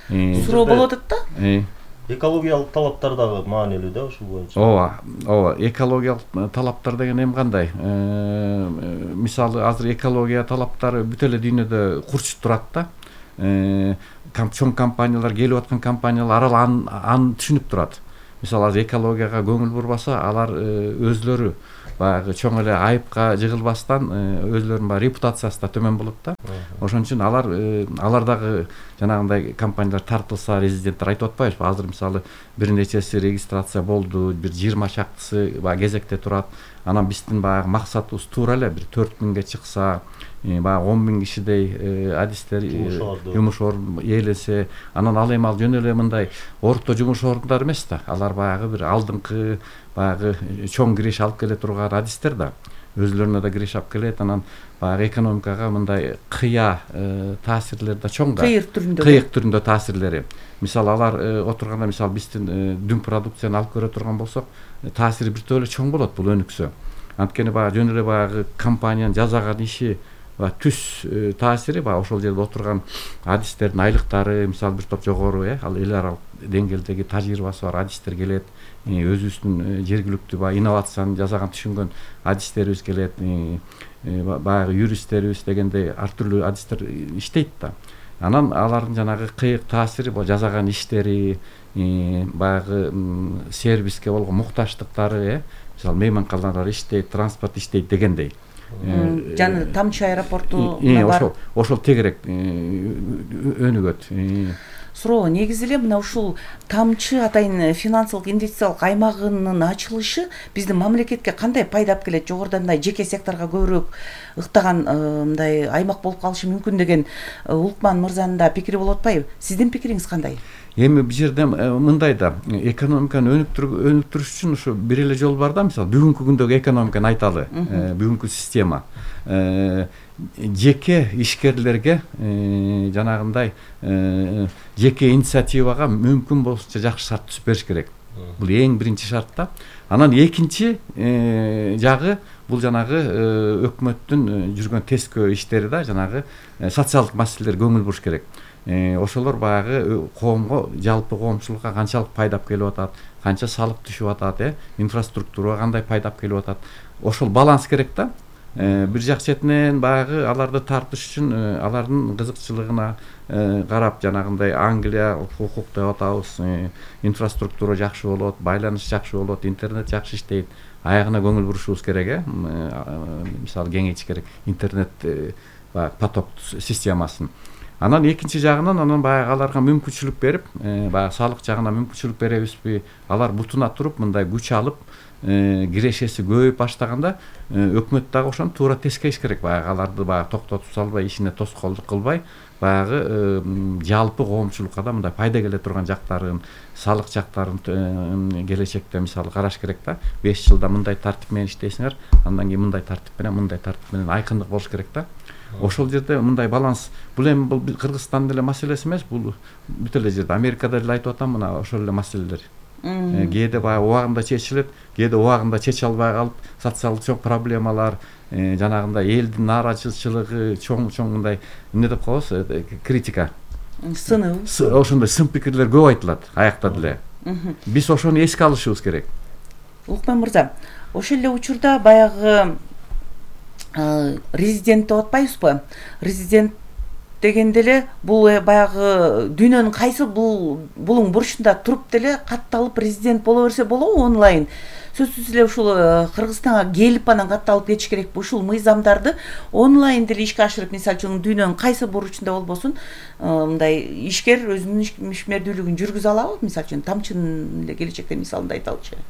Суроо болуп атат да. Экологиялык талаптар дагы маанилүү да ушул боюнча. Ооба, ооба, экологиялык талаптар деген эми кандай? Мисалы, азыр экология талаптары бүт эле дүйнөдө курчуп турат да. Чоң компаниялар, келип аткан компаниялар арал аны түшүнүп турат. Мисалы, азыр экологияга көңүл бурбаса, алар өзлөрү баягы чоң эле айыпка жыгылбастан өзлөрүнүн баягы репутациясы да төмөн болот да. Ошон үчүн алар алар дагы жанагындай компаниялар тартылса, резиденттер айтып атпайбызбы? Азыр мисалы бир нечеси регистрация болду, бир жыйырма чактысы баягы кезекте турат. Анан биздин баягы максатыбыз туура эле бир төрт миңге чыкса, баягы он миң кишидей адистер жумуш орун ээлесе, анан ал эми ал жөн эле мындай орто жумуш орундары эмес да. Алар баягы бир алдыңкы баягы чоң киреш алып келе турган адистер да. Өзлөрүнө да киреш алып келет, анан баягы экономикага мындай кыя таасирлери да чоң да. Кыйык түрүндө. Кыйык түрүндө таасирлери. Мисалы, алар отурганда, мисалы биздин дүң продукцияны алып көрө турган болсок, таасири бир эле чоң болот бул өнүксө. Анткени баягы жөн эле баягы компаниянын жасаган иши түз таасири баягы ошол жерде отурган адистердин айлыктары, мисалы бир топ жогору, э, ал эл аралык деңгээлдеги тажрыйбасы бар адистер келет, өзүбүздүн жергиликтүү баягы инновацияны жасаган түшүнгөн адистерибиз келет, баягы юристтерибиз дегендей ар түрдүү адистер иштейт да. Анан алардын жанагы кыйык таасири жасаган иштери, баягы сервиске болгон мукташтыктары, э, мисалы мейманканалар иштейт, транспорт иштейт дегендей. Жана Тамчы аэропорту бар. Ошол тегерек өнүгөт. Суроо, негизи эле мына ушул Тамчы атайын финансылык инвестициялык аймагынын ачылышы биздин мамлекетке кандай пайда алып келет? Жогоруда мындай жеке секторго көбүрөөк ыктаган мындай аймак болуп калышы мүмкүн деген Улукман мырзанын да пикири болуп атпайбы? Сиздин пикириңиз кандай? Эми бул жерде мындай да, экономиканы өнүктүрүш үчүн ушу бир эле жол бар да, мисалы бүгүнкү күндөгү экономиканы айталы, бүгүнкү система. Жеке ишкерлерге жанагындай жеке инициативага мүмкүн болсунча жакшы шарт түзүп бериш керек. Бул эң биринчи шарт да. Анан экинчи жагы бул жанагы өкмөттүн жүргөн тескөө иштери да, жанагы социалдык маселелерге көңүл буруш керек. Ошолор баягы коомго, жалпы коомчулукка канчалык пайда алып келип атат, канча салык түшүп атат, э, инфраструктурага кандай пайда алып келип атат. Ошол баланс керек да. Бир жак четинен баягы аларды тартыш үчүн алардын кызыкчылыгына карап, жанагындай Англия укук деп атабыз, инфраструктура жакшы болот, байланыш жакшы болот, интернет жакшы иштейт. Аягына көңүл бурушубуз керек, э. Мисалы кеңейтиш керек интернет баягы поток системасын. Анан экинчи жагынан анан баягы аларга мүмкүнчүлүк берип, баягы салык жагынан мүмкүнчүлүк беребизби? Алар бутуна туруп мындай күч алып, кирешеси көбөйүп баштаганда өкмөт дагы ошону туура тескейиш керек. Баягы аларды баягы токтотуп салбай, ишине тоскоолдук кылбай, баягы жалпы коомчулукка да мындай пайда келе турган жактарын, салык жактарын келечекте мисалы караш керек да. беш жылда мындай тартип менен иштейсиңер, андан кийин мындай тартип менен, мындай тартип менен айкындык болуш керек да. Ошол жерде мындай баланс. Бул эми бул Кыргызстандын эле маселеси эмес, бул бүт эле жерде Америкада эле айтып атам, мына ошол эле маселелер. Кээде баягы убагында чечилет, кээде убагында чече албай калып, социалдык чоң проблемалар, жанагындай элдин нааразычылыгы чоң-чоң мындай эмне деп коебуз, критика. Сынуу. Ошондой сын пикирлер көп айтылат аякта деле. Биз ошону эске алышыбыз керек. Улукман мырза, ошол эле учурда баягы резидент деп атпайбызбы? Резидент дегенде эле бул баягы дүйнөнүн кайсы бул булуң бурчунда туруп деле катталып президент боло берсе болобу онлайн? Сөзсүз эле ушул Кыргызстанга келип анан катталып кетиш керекпи? Ушул мыйзамдарды онлайн деле ишке ашырып, мисалы үчүн дүйнөнүн кайсы бурчунда болбосун, мындай ишкер өзүнүн ишмердүүлүгүн жүргүзө алабы? Мисалы үчүн Тамчынын эле келечекте мисалында айталычы.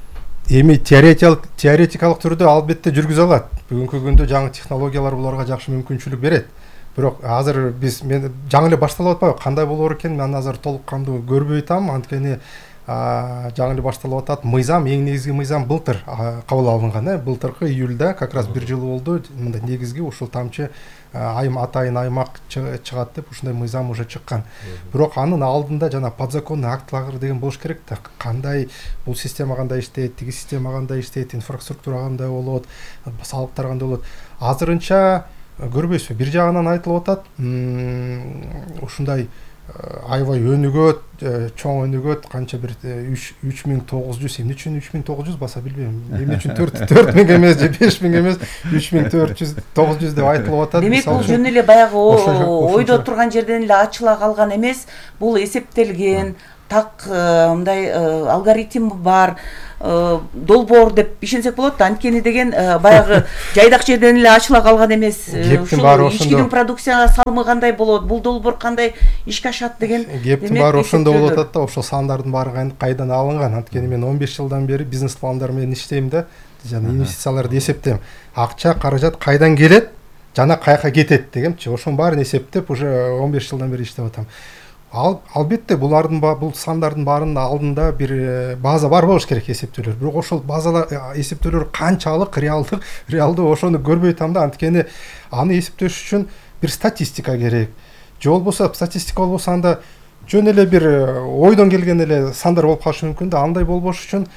Эми теоретикалык теоретикалык түрдө албетте жүргүзө алат. Бүгүнкү күндө жаңы технологиялар буларга жакшы мүмкүнчүлүк берет. Бирок азыр биз мен жаңы эле башталып атпайбы? Кандай болор экен, мен азыр толук кандуу көрбөй атам. Анткени жаңы эле башталып атат. Мыйзам, эң негизги мыйзам былтыр кабыл алынган, э былтыркы июлда как раз бир жыл болду. Мындай негизги ушул тамчы айым атайын аймак чыгат деп ушундай мыйзам уже чыккан. Бирок анын алдында жана подзаконный актылар деген болуш керек да. Кандай бул система кандай иштейт, тиги система кандай иштейт, инфраструктура кандай болот, салыктар кандай болот. Азырынча көрбөйсүзбү? Бир жагынан айтылып атат, ушундай аябай өнүгөт, чоң өнүгөт, канча бир үч миң тогуз жүз, эмне үчүн үч миң тогуз жүз баса билбейм. Эмне үчүн төрт миң эмес же беш миң эмес, үч миң төрт жүз, тогуз жүз деп айтылып атат. Демек бул жөн эле баягы ойдо турган жерден эле ачыла калган эмес, бул эсептелген, так мындай алгоритм бар, долбоор деп ишенсек болот да. Анткени деген баягы жайдак жерден эле ачыла калган эмес. Ушул ичкинин продукцияга салымы кандай болот, бул долбоор кандай ишке ашат деген кептин баары ошондо болуп атат да. Ошол сандардын баары кайдан алынган? Анткени мен он беш жылдан бери бизнес пландар менен иштейм да, жана инвестицияларды эсептейм. Акча, каражат кайдан келет жана каяка кетет дегенчи. Ошонун баарын эсептеп уже он беш жылдан бери иштеп атам. Ал албетте булардын бул сандардын баарынын алдында бир база бар болуш керек, эсептөөлөр. Бирок ошол базалар эсептөөлөр канчалык реалдык, реалдуу ошону көрбөй атам да. Анткени аны эсептеш үчүн бир статистика керек. Же болбосо статистика болбосо анда жөн эле бир ойдон келген эле сандар болуп калышы мүмкүн да. Андай болбош үчүн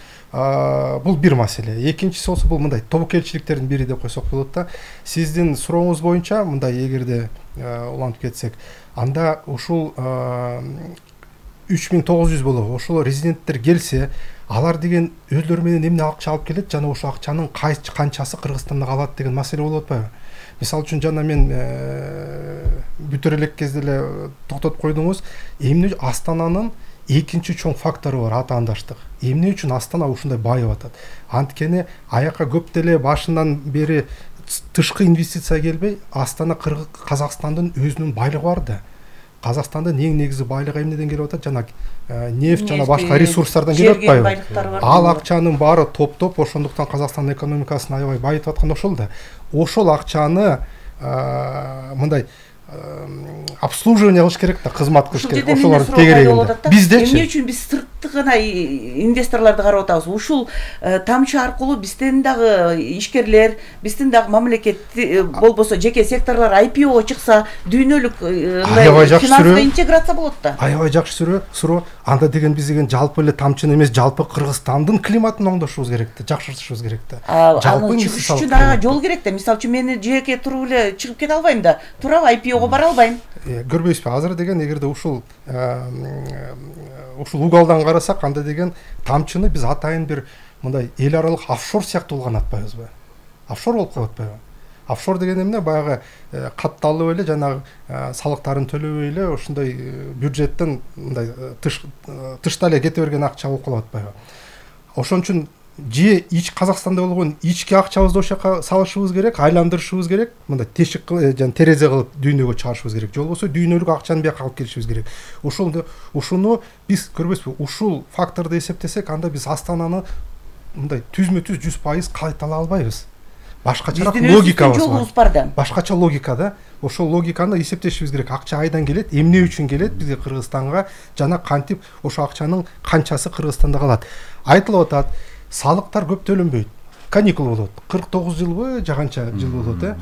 бул бир маселе. Экинчиси болсо бул мындай тобокелчиликтердин бири деп койсок болот да. Сиздин сурооңуз боюнча мындай эгерде улантып кетсек, анда ушул үч миң тогуз жүз болобу ошол резиденттер келсе, алар деген өздөрү менен эмне акча алып келет жана ошол акчанын канчасы Кыргызстанда калат деген маселе болуп атпайбы? Мисалы үчүн жана мен бүтөр элек кезде эле токтотуп койдуңуз, эмне Астананын экинчи чоң фактору бар, атаандаштык. Эмне үчүн Астана ушундай байып атат? Анткени аяка көп деле башынан бери тышкы инвестиция келбей, Астана Казакстандын өзүнүн байлыгы бар да. Казакстандын эң негизги байлыгы эмнеден келип атат? Жана нефть жана башка ресурстардан келип атпайбы? Ал акчанын баары топтоп, ошондуктан Казакстандын экономикасын аябай байытып аткан ошол да. Ошол акчаны мындай обслуживание кылыш керек да, кызмат кылыш керек. Ошолор тегерегинде. Биздечи эмне үчүн биз сыртты гана инвесторлорду карап атабыз? Ушул тамчы аркылуу биздин дагы ишкерлер, биздин дагы мамлекет болбосо жеке секторлор ай пи о чыкса, дүйнөлүк финансовый интеграция болот да. Аябай жакшы суроо. Анда деген биз деген жалпы эле тамчыны эмес, жалпы Кыргызстандын климатын оңдошубуз керек да, жакшыртышыбыз керек да. Жалпы чыгыш үчүн дагы жол керек да. Мисалы үчүн мен жеке туруп эле чыгып кете албайм да. Туруп ай пи ого бара албайм. Көрбөйсүзбү? Азыр деген эгерде ушул ушул угалдан карасак, анда деген тамчыны биз атайын бир мындай эл аралык офшор сыяктуу улганатпайбызбы? Офшор болуп калып атпайбы? Офшор деген эмне? Баягы катталып эле жанагы салыктарын төлөбөй эле ушундай бюджеттен мындай тышта эле кете берген акча болуп калып атпайбы? Ошон үчүн же ич Казакстанда болгон ички акчабызды ошол жака салышыбыз керек, айландырышыбыз керек, мындай тешик жана терезе кылып дүйнөгө чыгарышыбыз керек. Же болбосо дүйнөлүк акчаны бияка алып келишибиз керек. Ошол ушуну биз көрбөйсүзбү? Ушул факторду эсептесек, анда биз Астананы мындай түзмө-түз жүз пайыз кайтала албайбыз. Башкача логикабыз бар да. Башкача логика да. Ошол логиканы эсептешибиз керек. Акча айдан келет, эмне үчүн келет бизге Кыргызстанга, жана кантип ошол акчанын канчасы Кыргызстанда калат. Айтылып атат, салыктар көп төлөнбөйт. Каникул болот. кырк тогуз жылбы, жаганча жыл болот, э.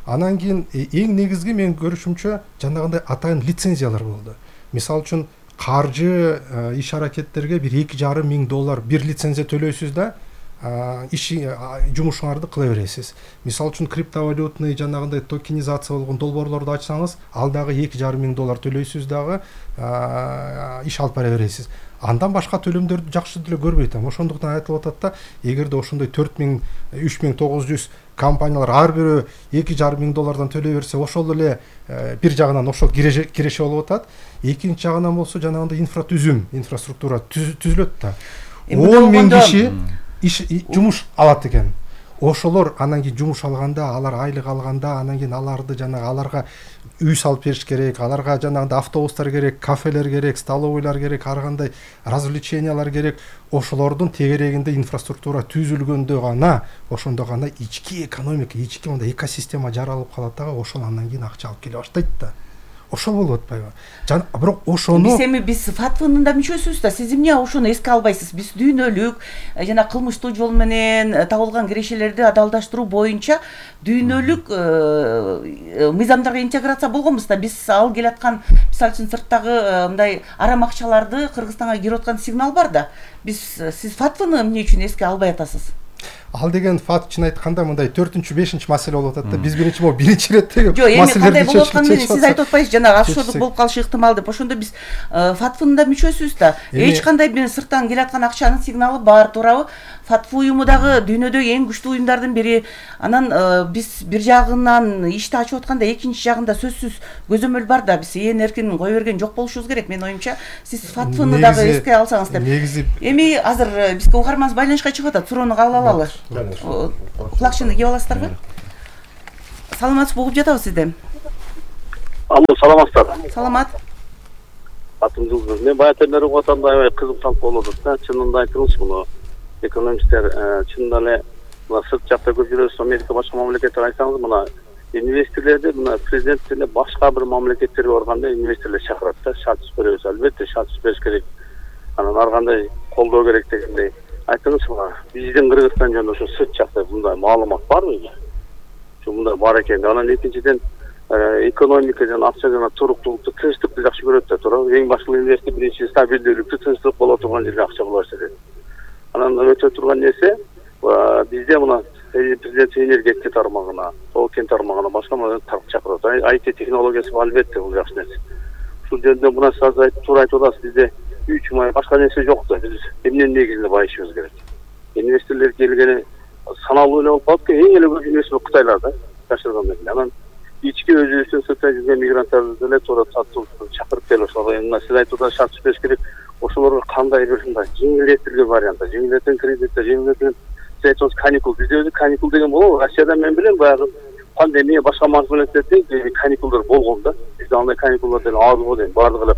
Анан кийин эң негизги менин көрүшүмчө жанагындай атайын лицензиялар болду. Мисалы үчүн каржы иш аракеттерге бир эки жарым миң доллар бир лицензия төлөйсүз да, иш жумушуңарды кыла бересиз. Мисалы үчүн криптовалютный жанагындай токенизация болгон долбоорлорду ачсаңыз, ал дагы эки жарым миң доллар төлөйсүз дагы иш алып бара бересиз. Андан башка төлөмдөрдү жакшы деле көрбөй атам. Ошондуктан айтылып атат да, эгерде ошондой төрт миң, үч миң тогуз жүз компаниялар ар бирөө эки жарым миң доллардан төлөй берсе, ошол эле бир жагынан ошол киреше болуп атат. Экинчи жагынан болсо жанагындай инфратүзүм, инфраструктура түзүлөт да. он миң киши иш жумуш алат экен. Ошолор анан кийин жумуш алганда, алар айлык алганда, анан кийин аларды жанагы аларга үй салып бериш керек, аларга жанагындай автобустар керек, кафелер керек, столовойлар керек, ар кандай развлечениялар керек. Ошолордун тегерегинде инфраструктура түзүлгөндө гана, ошондо гана ички экономика, ички мындай экосистема жаралып калат дагы, ошол андан кийин акча алып келе баштайт да. ошол болуп атпайбы? Жана бирок ошону биз эми биз фатвынын да мүчөсүбүз да. Сиз эмне ошону эске албайсыз? Биз дүйнөлүк жана кылмыштуу жол менен табылган кирешелерди адалдаштыруу боюнча дүйнөлүк мыйзамдарга интеграция болгонбуз да. Биз ал келаткан, мисалы үчүн сырттагы мындай арам акчаларды Кыргызстанга кирип аткан сигнал бар да. Биз сиз фатвыны эмне үчүн эске албай атасыз? Ал деген факт чын айтканда мындай төртүнчү бешинчи маселе болуп атат да. Биз биринчи могу биринчи иреттеги жок, эми кандай болуп атканын сиз айтып атпайсыз, жана ашшордук болуп калышы ыктымал деп. Ошондо биз фатвынын да мүчөсүбүз да. Эч кандай бир сырттан келаткан акчанын сигналы бар, туурабы? Фатва уюму дагы дүйнөдөгү эң күчтүү уюмдардын бири. Анан биз бир жагынан ишти ачып атканда экинчи жагында сөзсүз көзөмөл бар да. Биз ээн эркин кое берген жок болушубуз керек. Менин оюмча сиз фатвыны дагы эске алсаңыз деп. Эми азыр бизге угарманыбыз байланышка чыгып атат. Суроону кабыл алалы. Кулакчыны кийип аласыздарбы? Саламатсызбы, угуп жатабыз сизди. Алло, саламатсыздар. Саламат. Атым Жылдыз. Мен баягы угуп атам да, аябай кызыкталып болуп атат да. Чынында айтыңыз, муну экономисттер чынында эле мына сырт жакта көп жүрөсүз, Америка башка мамлекеттер айтсаңыз, мына инвесторлорду мына президент эле башка бир мамлекеттерге барганда инвесторлор чакырат да, шарт түзбөйбүз. Албетте шарт түзбөш керек. Анан ар кандай колдоо керек дегендей. Айтыңыз, мына биздин Кыргызстан жөнүндө ошо сырт жакта мындай маалымат барбы? Ошо мындай бар экен. Анан экинчиден экономика жана акча жана туруктуулукту, тынчтыкты жакшы көрөт да, туурабы? Эң башкы инвестор биринчи стабилдүүлүктү, тынчтык боло турган жерге акча кылбаш дейт. Анан өтө турган нерсе бизде мына президент энергетика тармагына, тоо кен тармагына башка чакырат. ай ти технологиясы албетте бул жакшы нерсе. Ушул жөнүндө мына сиз айтып туура айтып атасыз, бизде үч май башка нерсе жок да. Биз эмненин негизинде байышыбыз керек. Инвесторлор келгени саналуу эле болуп калып, эң эле көп инвестор Кытайларда жашырган эле. Анан ички өзүбүздүн сыртта жүргөн мигранттарды деле туура тартууга чакырып келип ошолор мына сиз айтып атасыз, шарт түзүш керек. Ошолорго кандай бир мындай жеңилдетилген вариант, жеңилдетилген кредиттер, жеңилдетилген сиз айтып атасыз каникул. Бизде өзү каникул деген болобу? Россияда мен билем баягы пандемия башка мамлекеттерде каникулдар болгон да. Бизде андай каникулдар деле аз го дейм. Бардыгы эле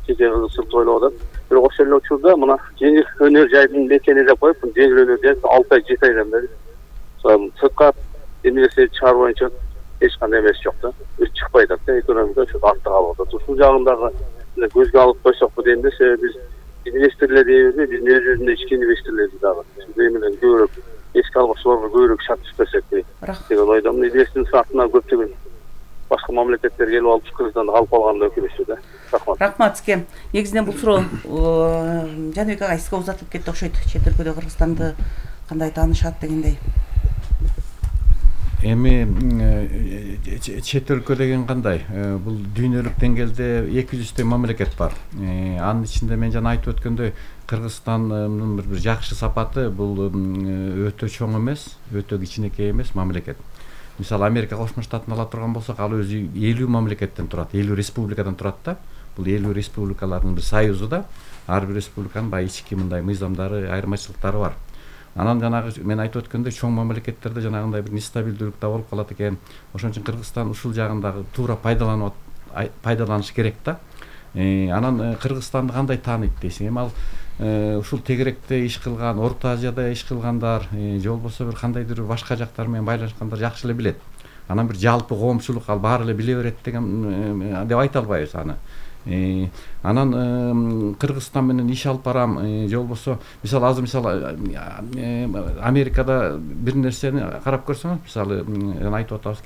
кече кызык тойлоп атат. Бирок ошол эле учурда мына жеңил өнөр жайдын мекени деп коюп, жеңил өнөр жай алты ай жети айдан бери сыртка инвестиция чыгаруу боюнча эч кандай эмес жок да. Үч чыкпай атат да, экономика ошо артта калып атат. Ушул жагындагы көзгө алып койсокпу дейм да, себеби биз инвесторлор дейбизби, биздин өзүбүздүн ички инвесторлорду дагы эмелен көбүрөөк эске алып ошолорго көбүрөөк шарт түзбөсөкпү деген ойдомун. Инвестордун сартына көптөгөн башка мамлекеттер келип алып Кыргызстанды алып калганда өкүнүчтүү да. Рахмат. Рахмат сизге. Негизинен бул суроо Жаныбек агай сизге узатылып кетти окшойт. Чет өлкөдө Кыргызстанды кандай таанышат дегендей. Эми чет өлкө деген кандай? Бул дүйнөлүк деңгээлде эки жүздөй мамлекет бар. Анын ичинде мен жана айтып өткөндөй Кыргызстандын бир жакшы сапаты бул өтө чоң эмес, өтө кичинекей эмес мамлекет. Мисалы Америка Кошмо Штатын ала турган болсок, ал өзү элүү мамлекеттен турат, элүү республикадан турат да. Бул элүү республикалардын бир союзу да. Ар бир республиканын баягы ички мындай мыйзамдары, айырмачылыктары бар. Анан жанагы мен айтып өткөндөй чоң мамлекеттерде жанагындай бир нестабилдүүлүк да болуп калат экен. Ошон үчүн Кыргызстан ушул жагындагы туура пайдаланып пайдаланыш керек да. Анан Кыргызстанды кандай тааныйт дейсиң? Эми ал ушул тегеректе иш кылган, Орто Азияда иш кылгандар, же болбосо бир кандайдыр башка жактар менен байланышкандар жакшы эле билет. Анан бир жалпы коомчулук ал баары эле биле берет деген деп айта албайбыз аны. Анан Кыргызстан менен иш алып барам, же болбосо мисалы азыр мисалы Америкада бир нерсени карап көрсөңүз, мисалы жана айтып атабыз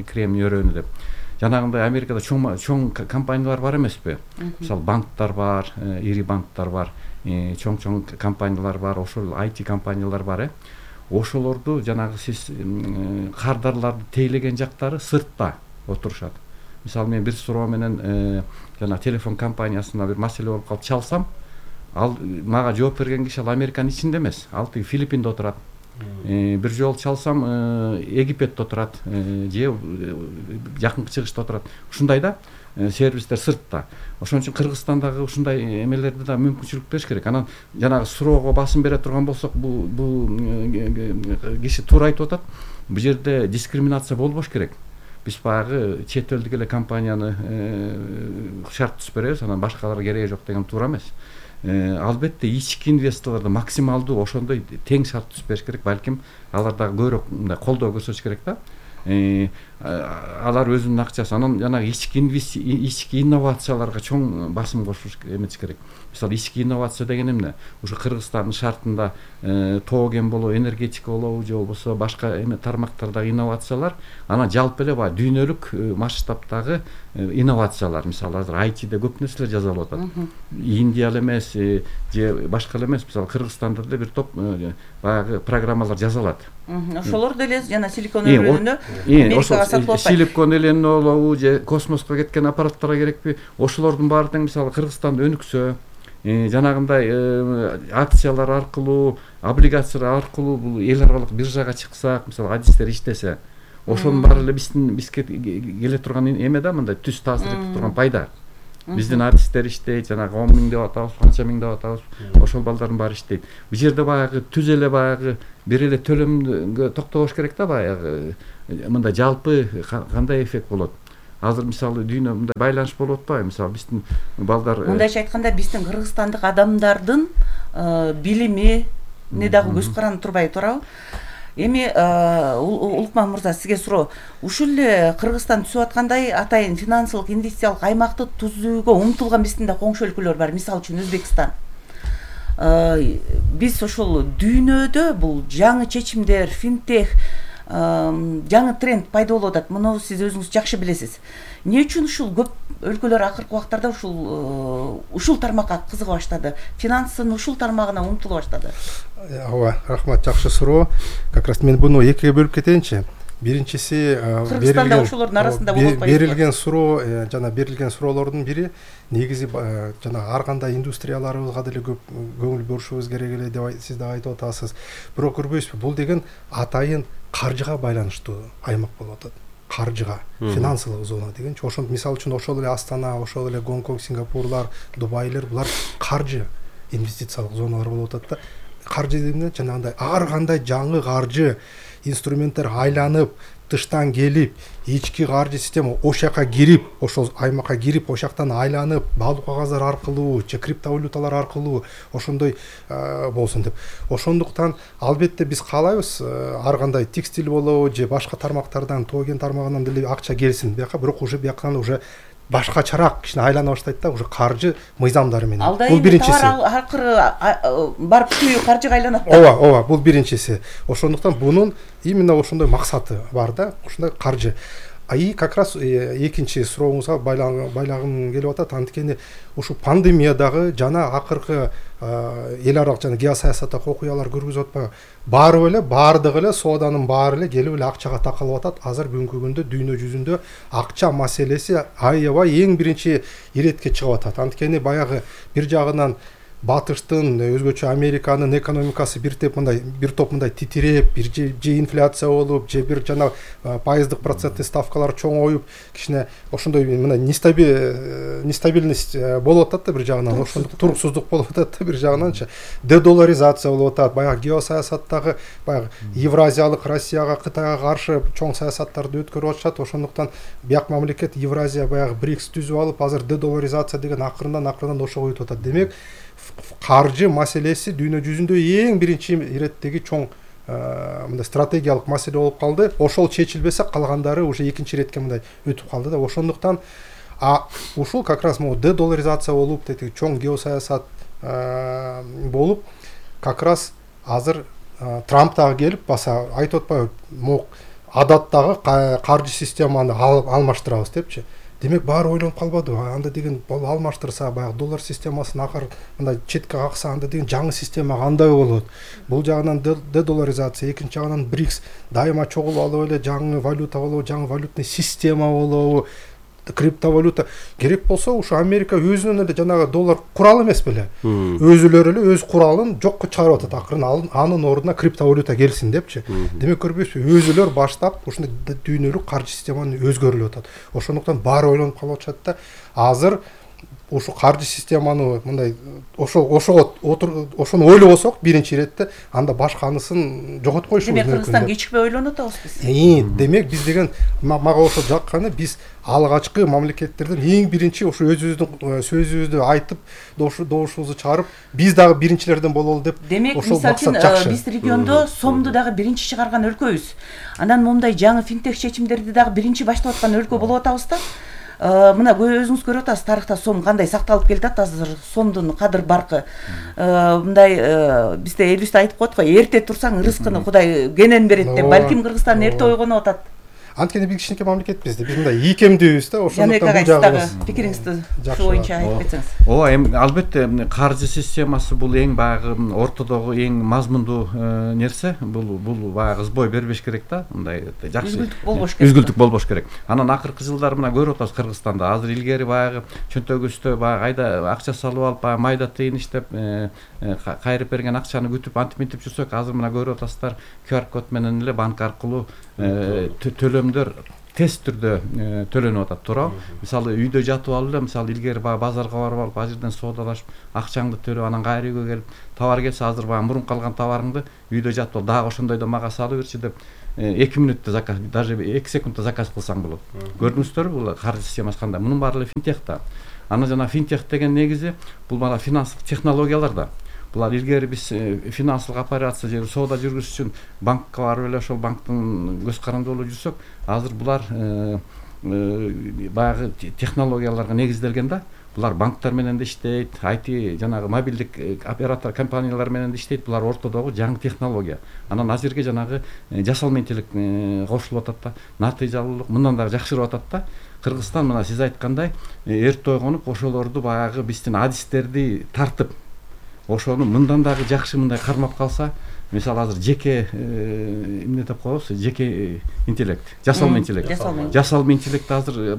Кремний өрөөнү деп. Жанагындай Америкада чоң чоң компаниялар бар эмеспи? Мисалы банктар бар, ири банктар бар, чоң-чоң компаниялар бар, ошол ай ти компаниялар бар, э. Ошолорду жанагы сиз кардарларды тейлеген жактары сыртта отурушат. Мисалы мен бир суроо менен жана телефон компаниясына бир маселе болуп калып чалсам, ал мага жооп берген киши ал Американын ичинде эмес, ал тиги Филиппинде отурат. Бир жолу чалсам Египетте отурат, же жакынкы чыгышта отурат. Ушундай да сервистер сыртта. Ошон үчүн Кыргызстандагы ушундай эмелерди да мүмкүнчүлүк бериш керек. Анан жанагы суроого басым бере турган болсок, бул бул киши туура айтып атат. Бул жерде дискриминация болбош керек. Биз баягы чет элдик эле компанияны шарт түзүп беребиз, анан башкаларга кереги жок деген туура эмес. Албетте ички инвесторлорду максималдуу ошондой тең шарт түзүп бериш керек, балким алар дагы көбүрөөк мындай колдоо көрсөтүш керек да. алар өзүнүн акчасы анан жанагы ички ички инновацияларга чоң басым кошуш эмес керек. Мисалы ички инновация деген эмне? Ушу Кыргызстандын шартында тоо кен болобу, энергетика болобу же болбосо башка эме тармактардагы инновациялар, анан жалпы эле баягы дүйнөлүк масштабтагы инновациялар. Мисалы азыр ай тиде көп нерселер жасалып атат. Индия эле эмес, же башка эле эмес, мисалы Кыргызстанда деле бир топ баягы программалар жасалат. Ошолор деле жана силикон өрөөнү Америкага сатып атпайбы? Силикон элени болобу же космоско кеткен аппараттарга керекпи? Ошолордун баары тең мисалы Кыргызстанда өнүксө, жанагындай акциялар аркылуу, облигациялар аркылуу бул эл аралык биржага чыксак, мисалы адистер иштесе, ошонун баары эле биздин бизге келе турган эме да, мындай түз таасир эте турган пайда. Биздин артисттер иштейт, жанагы он миң деп атабыз, канча миң деп атабыз, ошол балдардын баары иштейт. Бул жерде баягы түз эле баягы бир эле төлөмгө токтобош керек да, баягы мындай жалпы кандай эффект болот. Азыр мисалы дүйнө мындай байланыш болуп атпайбы? Мисалы биздин балдар мындайча айтканда биздин кыргызстандык адамдардын билими не дагы көз каранып турбай туурабы? Эми Улукман мырза, сизге суроо. Ушул эле Кыргызстан түзүп аткандай атайын финансылык инвестициялык аймакты түзүүгө умтулган биздин да коңшу өлкөлөр бар. Мисалы үчүн Өзбекстан. Биз ошол дүйнөдө бул жаңы чечимдер, финтех, жаңы тренд пайда болуп атат. Муну сиз өзүңүз жакшы билесиз. Эмне үчүн ушул көп өлкөлөр акыркы убактарда ушул ушул тармакка кызыга баштады? Финанстын ушул тармагына умтула баштады? Ооба, рахмат, жакшы суроо. Как раз мен буну экиге бөлүп кетейинчи. Биринчиси Кыргызстанда ошолордун арасында болуп атпайбы? Берилген суроо, жана берилген суроолордун бири негизи жана ар кандай индустрияларыбызга деле көп көңүл бурушубуз керек эле деп сиз да айтып атасыз. Бирок көрбөйсүзбү, бул деген атайын каржыга байланыштуу аймак болуп атат. Каржыга, финансылык зона дегенчи. Ошон мисалы үчүн ошол эле Астана, ошол эле Гонконг, Сингапурлар, Дубайлер, булар каржы инвестициялык зоналар болуп атат да. Каржы дегенде жанагындай ар кандай жаңы каржы инструменттер айланып, тыштан келип, ички каржы система ош жака кирип, ошол аймакка кирип, ош жактан айланып, баалуу кагаздар аркылуу, же криптовалюталар аркылуу ошондой болсун деп. Ошондуктан албетте биз каалайбыз ар кандай текстиль болобу же башка тармактардан, тоо кен тармагынан деле акча келсин бияка, бирок уже бияктан уже башкачараак кичине айлана баштайт да, уже каржы мыйзамдары менен. Бул биринчиси. Алда акыры барып түгүү каржыга айланат да. Ооба, ооба, бул биринчиси. Ошондуктан бунун именно ошондой максаты бар да, ошондой каржы. А и как раз экинчи сурооңузга байлагым келип атат. Анткени ушу пандемиядагы жана акыркы эл аралык жана геосаясаттык окуялар көргүзүп атпайбы? Баары эле, баардыгы эле сооданын баары эле келип эле акчага такалып атат. Азыр бүгүнкү күндө дүйнө жүзүндө акча маселеси аябай эң биринчи иретке чыгып атат. Анткени баягы бир жагынан батыштын, өзгөчө Американын экономикасы бир топ мындай бир топ мындай титиреп, бир же инфляция болуп, же бир жана пайыздык проценттик ставкалар чоңоюп, кичине ошондой мындай нестабильность болуп атат да бир жагынан, ошондук туруксуздук болуп атат да бир жагынанчы. Дедоларизация болуп атат, баягы геосаясаттагы баягы Евразиялык Россияга, Кытайга каршы чоң саясаттарды өткөрүп атышат. Ошондуктан бияк мамлекет Евразия баягы брикс түзүп алып, азыр дедоларизация деген акырындан акырындан ошого өтүп атат. Демек, каржы маселеси дүйнө жүзүндө эң биринчи иреттеги чоң мындай стратегиялык маселе болуп калды. Ошол чечилбесе калгандары уже экинчи иретке мындай өтүп калды да. Ошондуктан а ушул как раз могу дедоларизация болуп, тетиги чоң геосаясат болуп, как раз азыр Трамп дагы келип баса айтып атпайбы, могу адаттагы каржы системаны алмаштырабыз депчи. Демек баары ойлонуп калбады. Анда деген алмаштырса, баягы доллар системасын акыр мындай четке какса, анда деген жаңы система кандай болот? Бул жагынан дедоларизация, экинчи жагынан брикс дайыма чогулуп алып эле жаңы валюта болобу, жаңы валютный система болобу, криптовалюта керек болсо, ушу Америка өзүнүн эле жанагы доллар куралы эмес беле. Өзүлөрү эле өз куралын жокко чыгарып атат. Акырын анын ордуна криптовалюта келсин депчи. Демек көрбөйсүзбү, өзүлөр баштап ушундай дүйнөлүк каржы системаны өзгөрүлүп атат. Ошондуктан баары ойлонуп калып атышат да. Азыр ушу каржы системаны мындай ошо ошого ошону ойлобосок биринчи иретте анда башканысын жоготуп коюшубуз мүмкүн. Демек Кыргызстан кечикпей ойлонуп атабыз биз. Демек биз деген мага ошо жакканы биз алгачкы мамлекеттерден эң биринчи ошо өзүбүздүн сөзүбүздү айтып добушубузду чыгарып биз дагы биринчилерден бололу деп. Демек мисалы үчүн биз региондо сомду дагы биринчи чыгарган өлкөбүз. Анан момундай жаңы финтех чечимдерди дагы биринчи баштап аткан өлкө болуп атабыз да. Мына өзүңүз көрүп атасыз, тарыхта сом кандай сакталып келатат, азыр сомдун кадыр баркы. Мындай бизде элибизде айтып коет го, эрте турсаң рызкыны Кудай кенен берет деп. Балким Кыргызстан эрте ойгонуп атат. Анткени биз кичинекей мамлекетпиз да, биз мындай ийкемдүүбүз да, ошондуктан бул жагыбыз. Пикириңизди ошол боюнча айтып кетсеңиз. Ооба, эми албетте каржы системасы бул эң баягы ортодогу эң мазмундуу нерсе. Бул бул баягы сбой бербеш керек да, мындай жакшы үзгүлтүк болбош керек. Үзгүлтүк болбош керек. Анан акыркы жылдары мына көрүп атабыз Кыргызстанда. Азыр илгери баягы чөнтөгүстө баягы айда акча салып алып, баягы майда тыйын иштеп, кайрып берген акчаны күтүп антип-мынтип жүрсөк, азыр мына көрүп атасыздар, ку ар код менен эле банк аркылуу төлөмдөр тез түрдө төлөнүп атат, туурабы? Мисалы үйдө жатып алып эле, мисалы илгери баягы базарга барып алып, ал жерден соодалашып, акчаңды төлөп, анан кайра үйгө келип, товар келсе, азыр баягы мурун калган товарыңды үйдө жатып алып, дагы ошондойдо мага салып берчи деп эки мүнөттө заказ, даже эки секундта заказ кылсаң болот. Көрдүңүздөрбү бул каржы системасы кандай? Мунун баары эле финтех да. Анан жана финтех деген негизи бул мана финанстык технологиялар да. Булар илгери биз финансылык операция же соода жүргүзүш үчүн банкка барып эле ошол банктын көз каранды болуп жүрсөк, азыр булар баягы технологияларга негизделген да. Булар банктар менен да иштейт, ай ти жанагы мобилдик оператор компаниялар менен да иштейт. Булар ортодогу жаңы технология. Анан азыркы жанагы жасалма интеллект кошулуп атат да. Натыйжалуулук мындан дагы жакшырып атат да. Кыргызстан мына сиз айткандай эрте ойгонуп, ошолорду баягы биздин адистерди тартып, ошону мындан дагы жакшы мындай кармап калса, мисалы азыр жеке эмне деп коебуз, жеке интеллект, жасалма интеллект. Жасалма интеллект азыр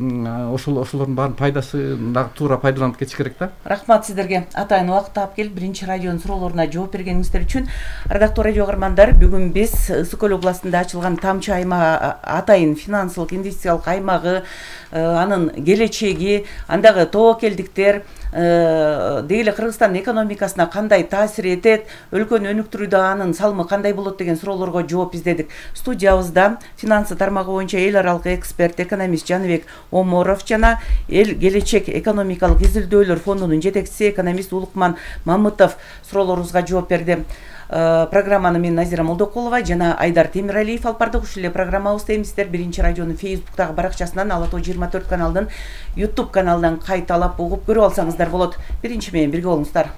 ошол ошолордун баарын пайдасы дагы туура пайдаланып кетиш керек да. Рахмат сиздерге. Атайын убакыт таап келип, биринчи радионун суроолоруна жооп бергениңиздер үчүн. Ардактуу радио көрөрмандар, бүгүн биз Ысык көл областында ачылган Тамчы аймагы, атайын финансылык инвестициялык аймагы, анын келечеги, андагы тобокелдиктер, деги эле Кыргызстандын экономикасына кандай таасир этет, өлкөнү өнүктүрүүдө анын салымы кандай болот деген суроолорго жооп издедик. Студиябызда финансы тармагы боюнча эл аралык эксперт, экономист Жаныбек Оморов жана Эл келечек экономикалык изилдөөлөр фондунун жетекчиси экономист Улукман Мамытов суроолорубузга жооп берди. Программаны мен Назира Молдокулова жана Айдар Темиралиев алып бардык. Ушул эле программабызды эми сиздер биринчи радионун Facebook'тагы баракчасынан, Ала тоо жыйырма төрт каналынын YouTube каналынан кайталап угуп көрүп алсаңыздар болот. Биринчи менен бирге болуңуздар.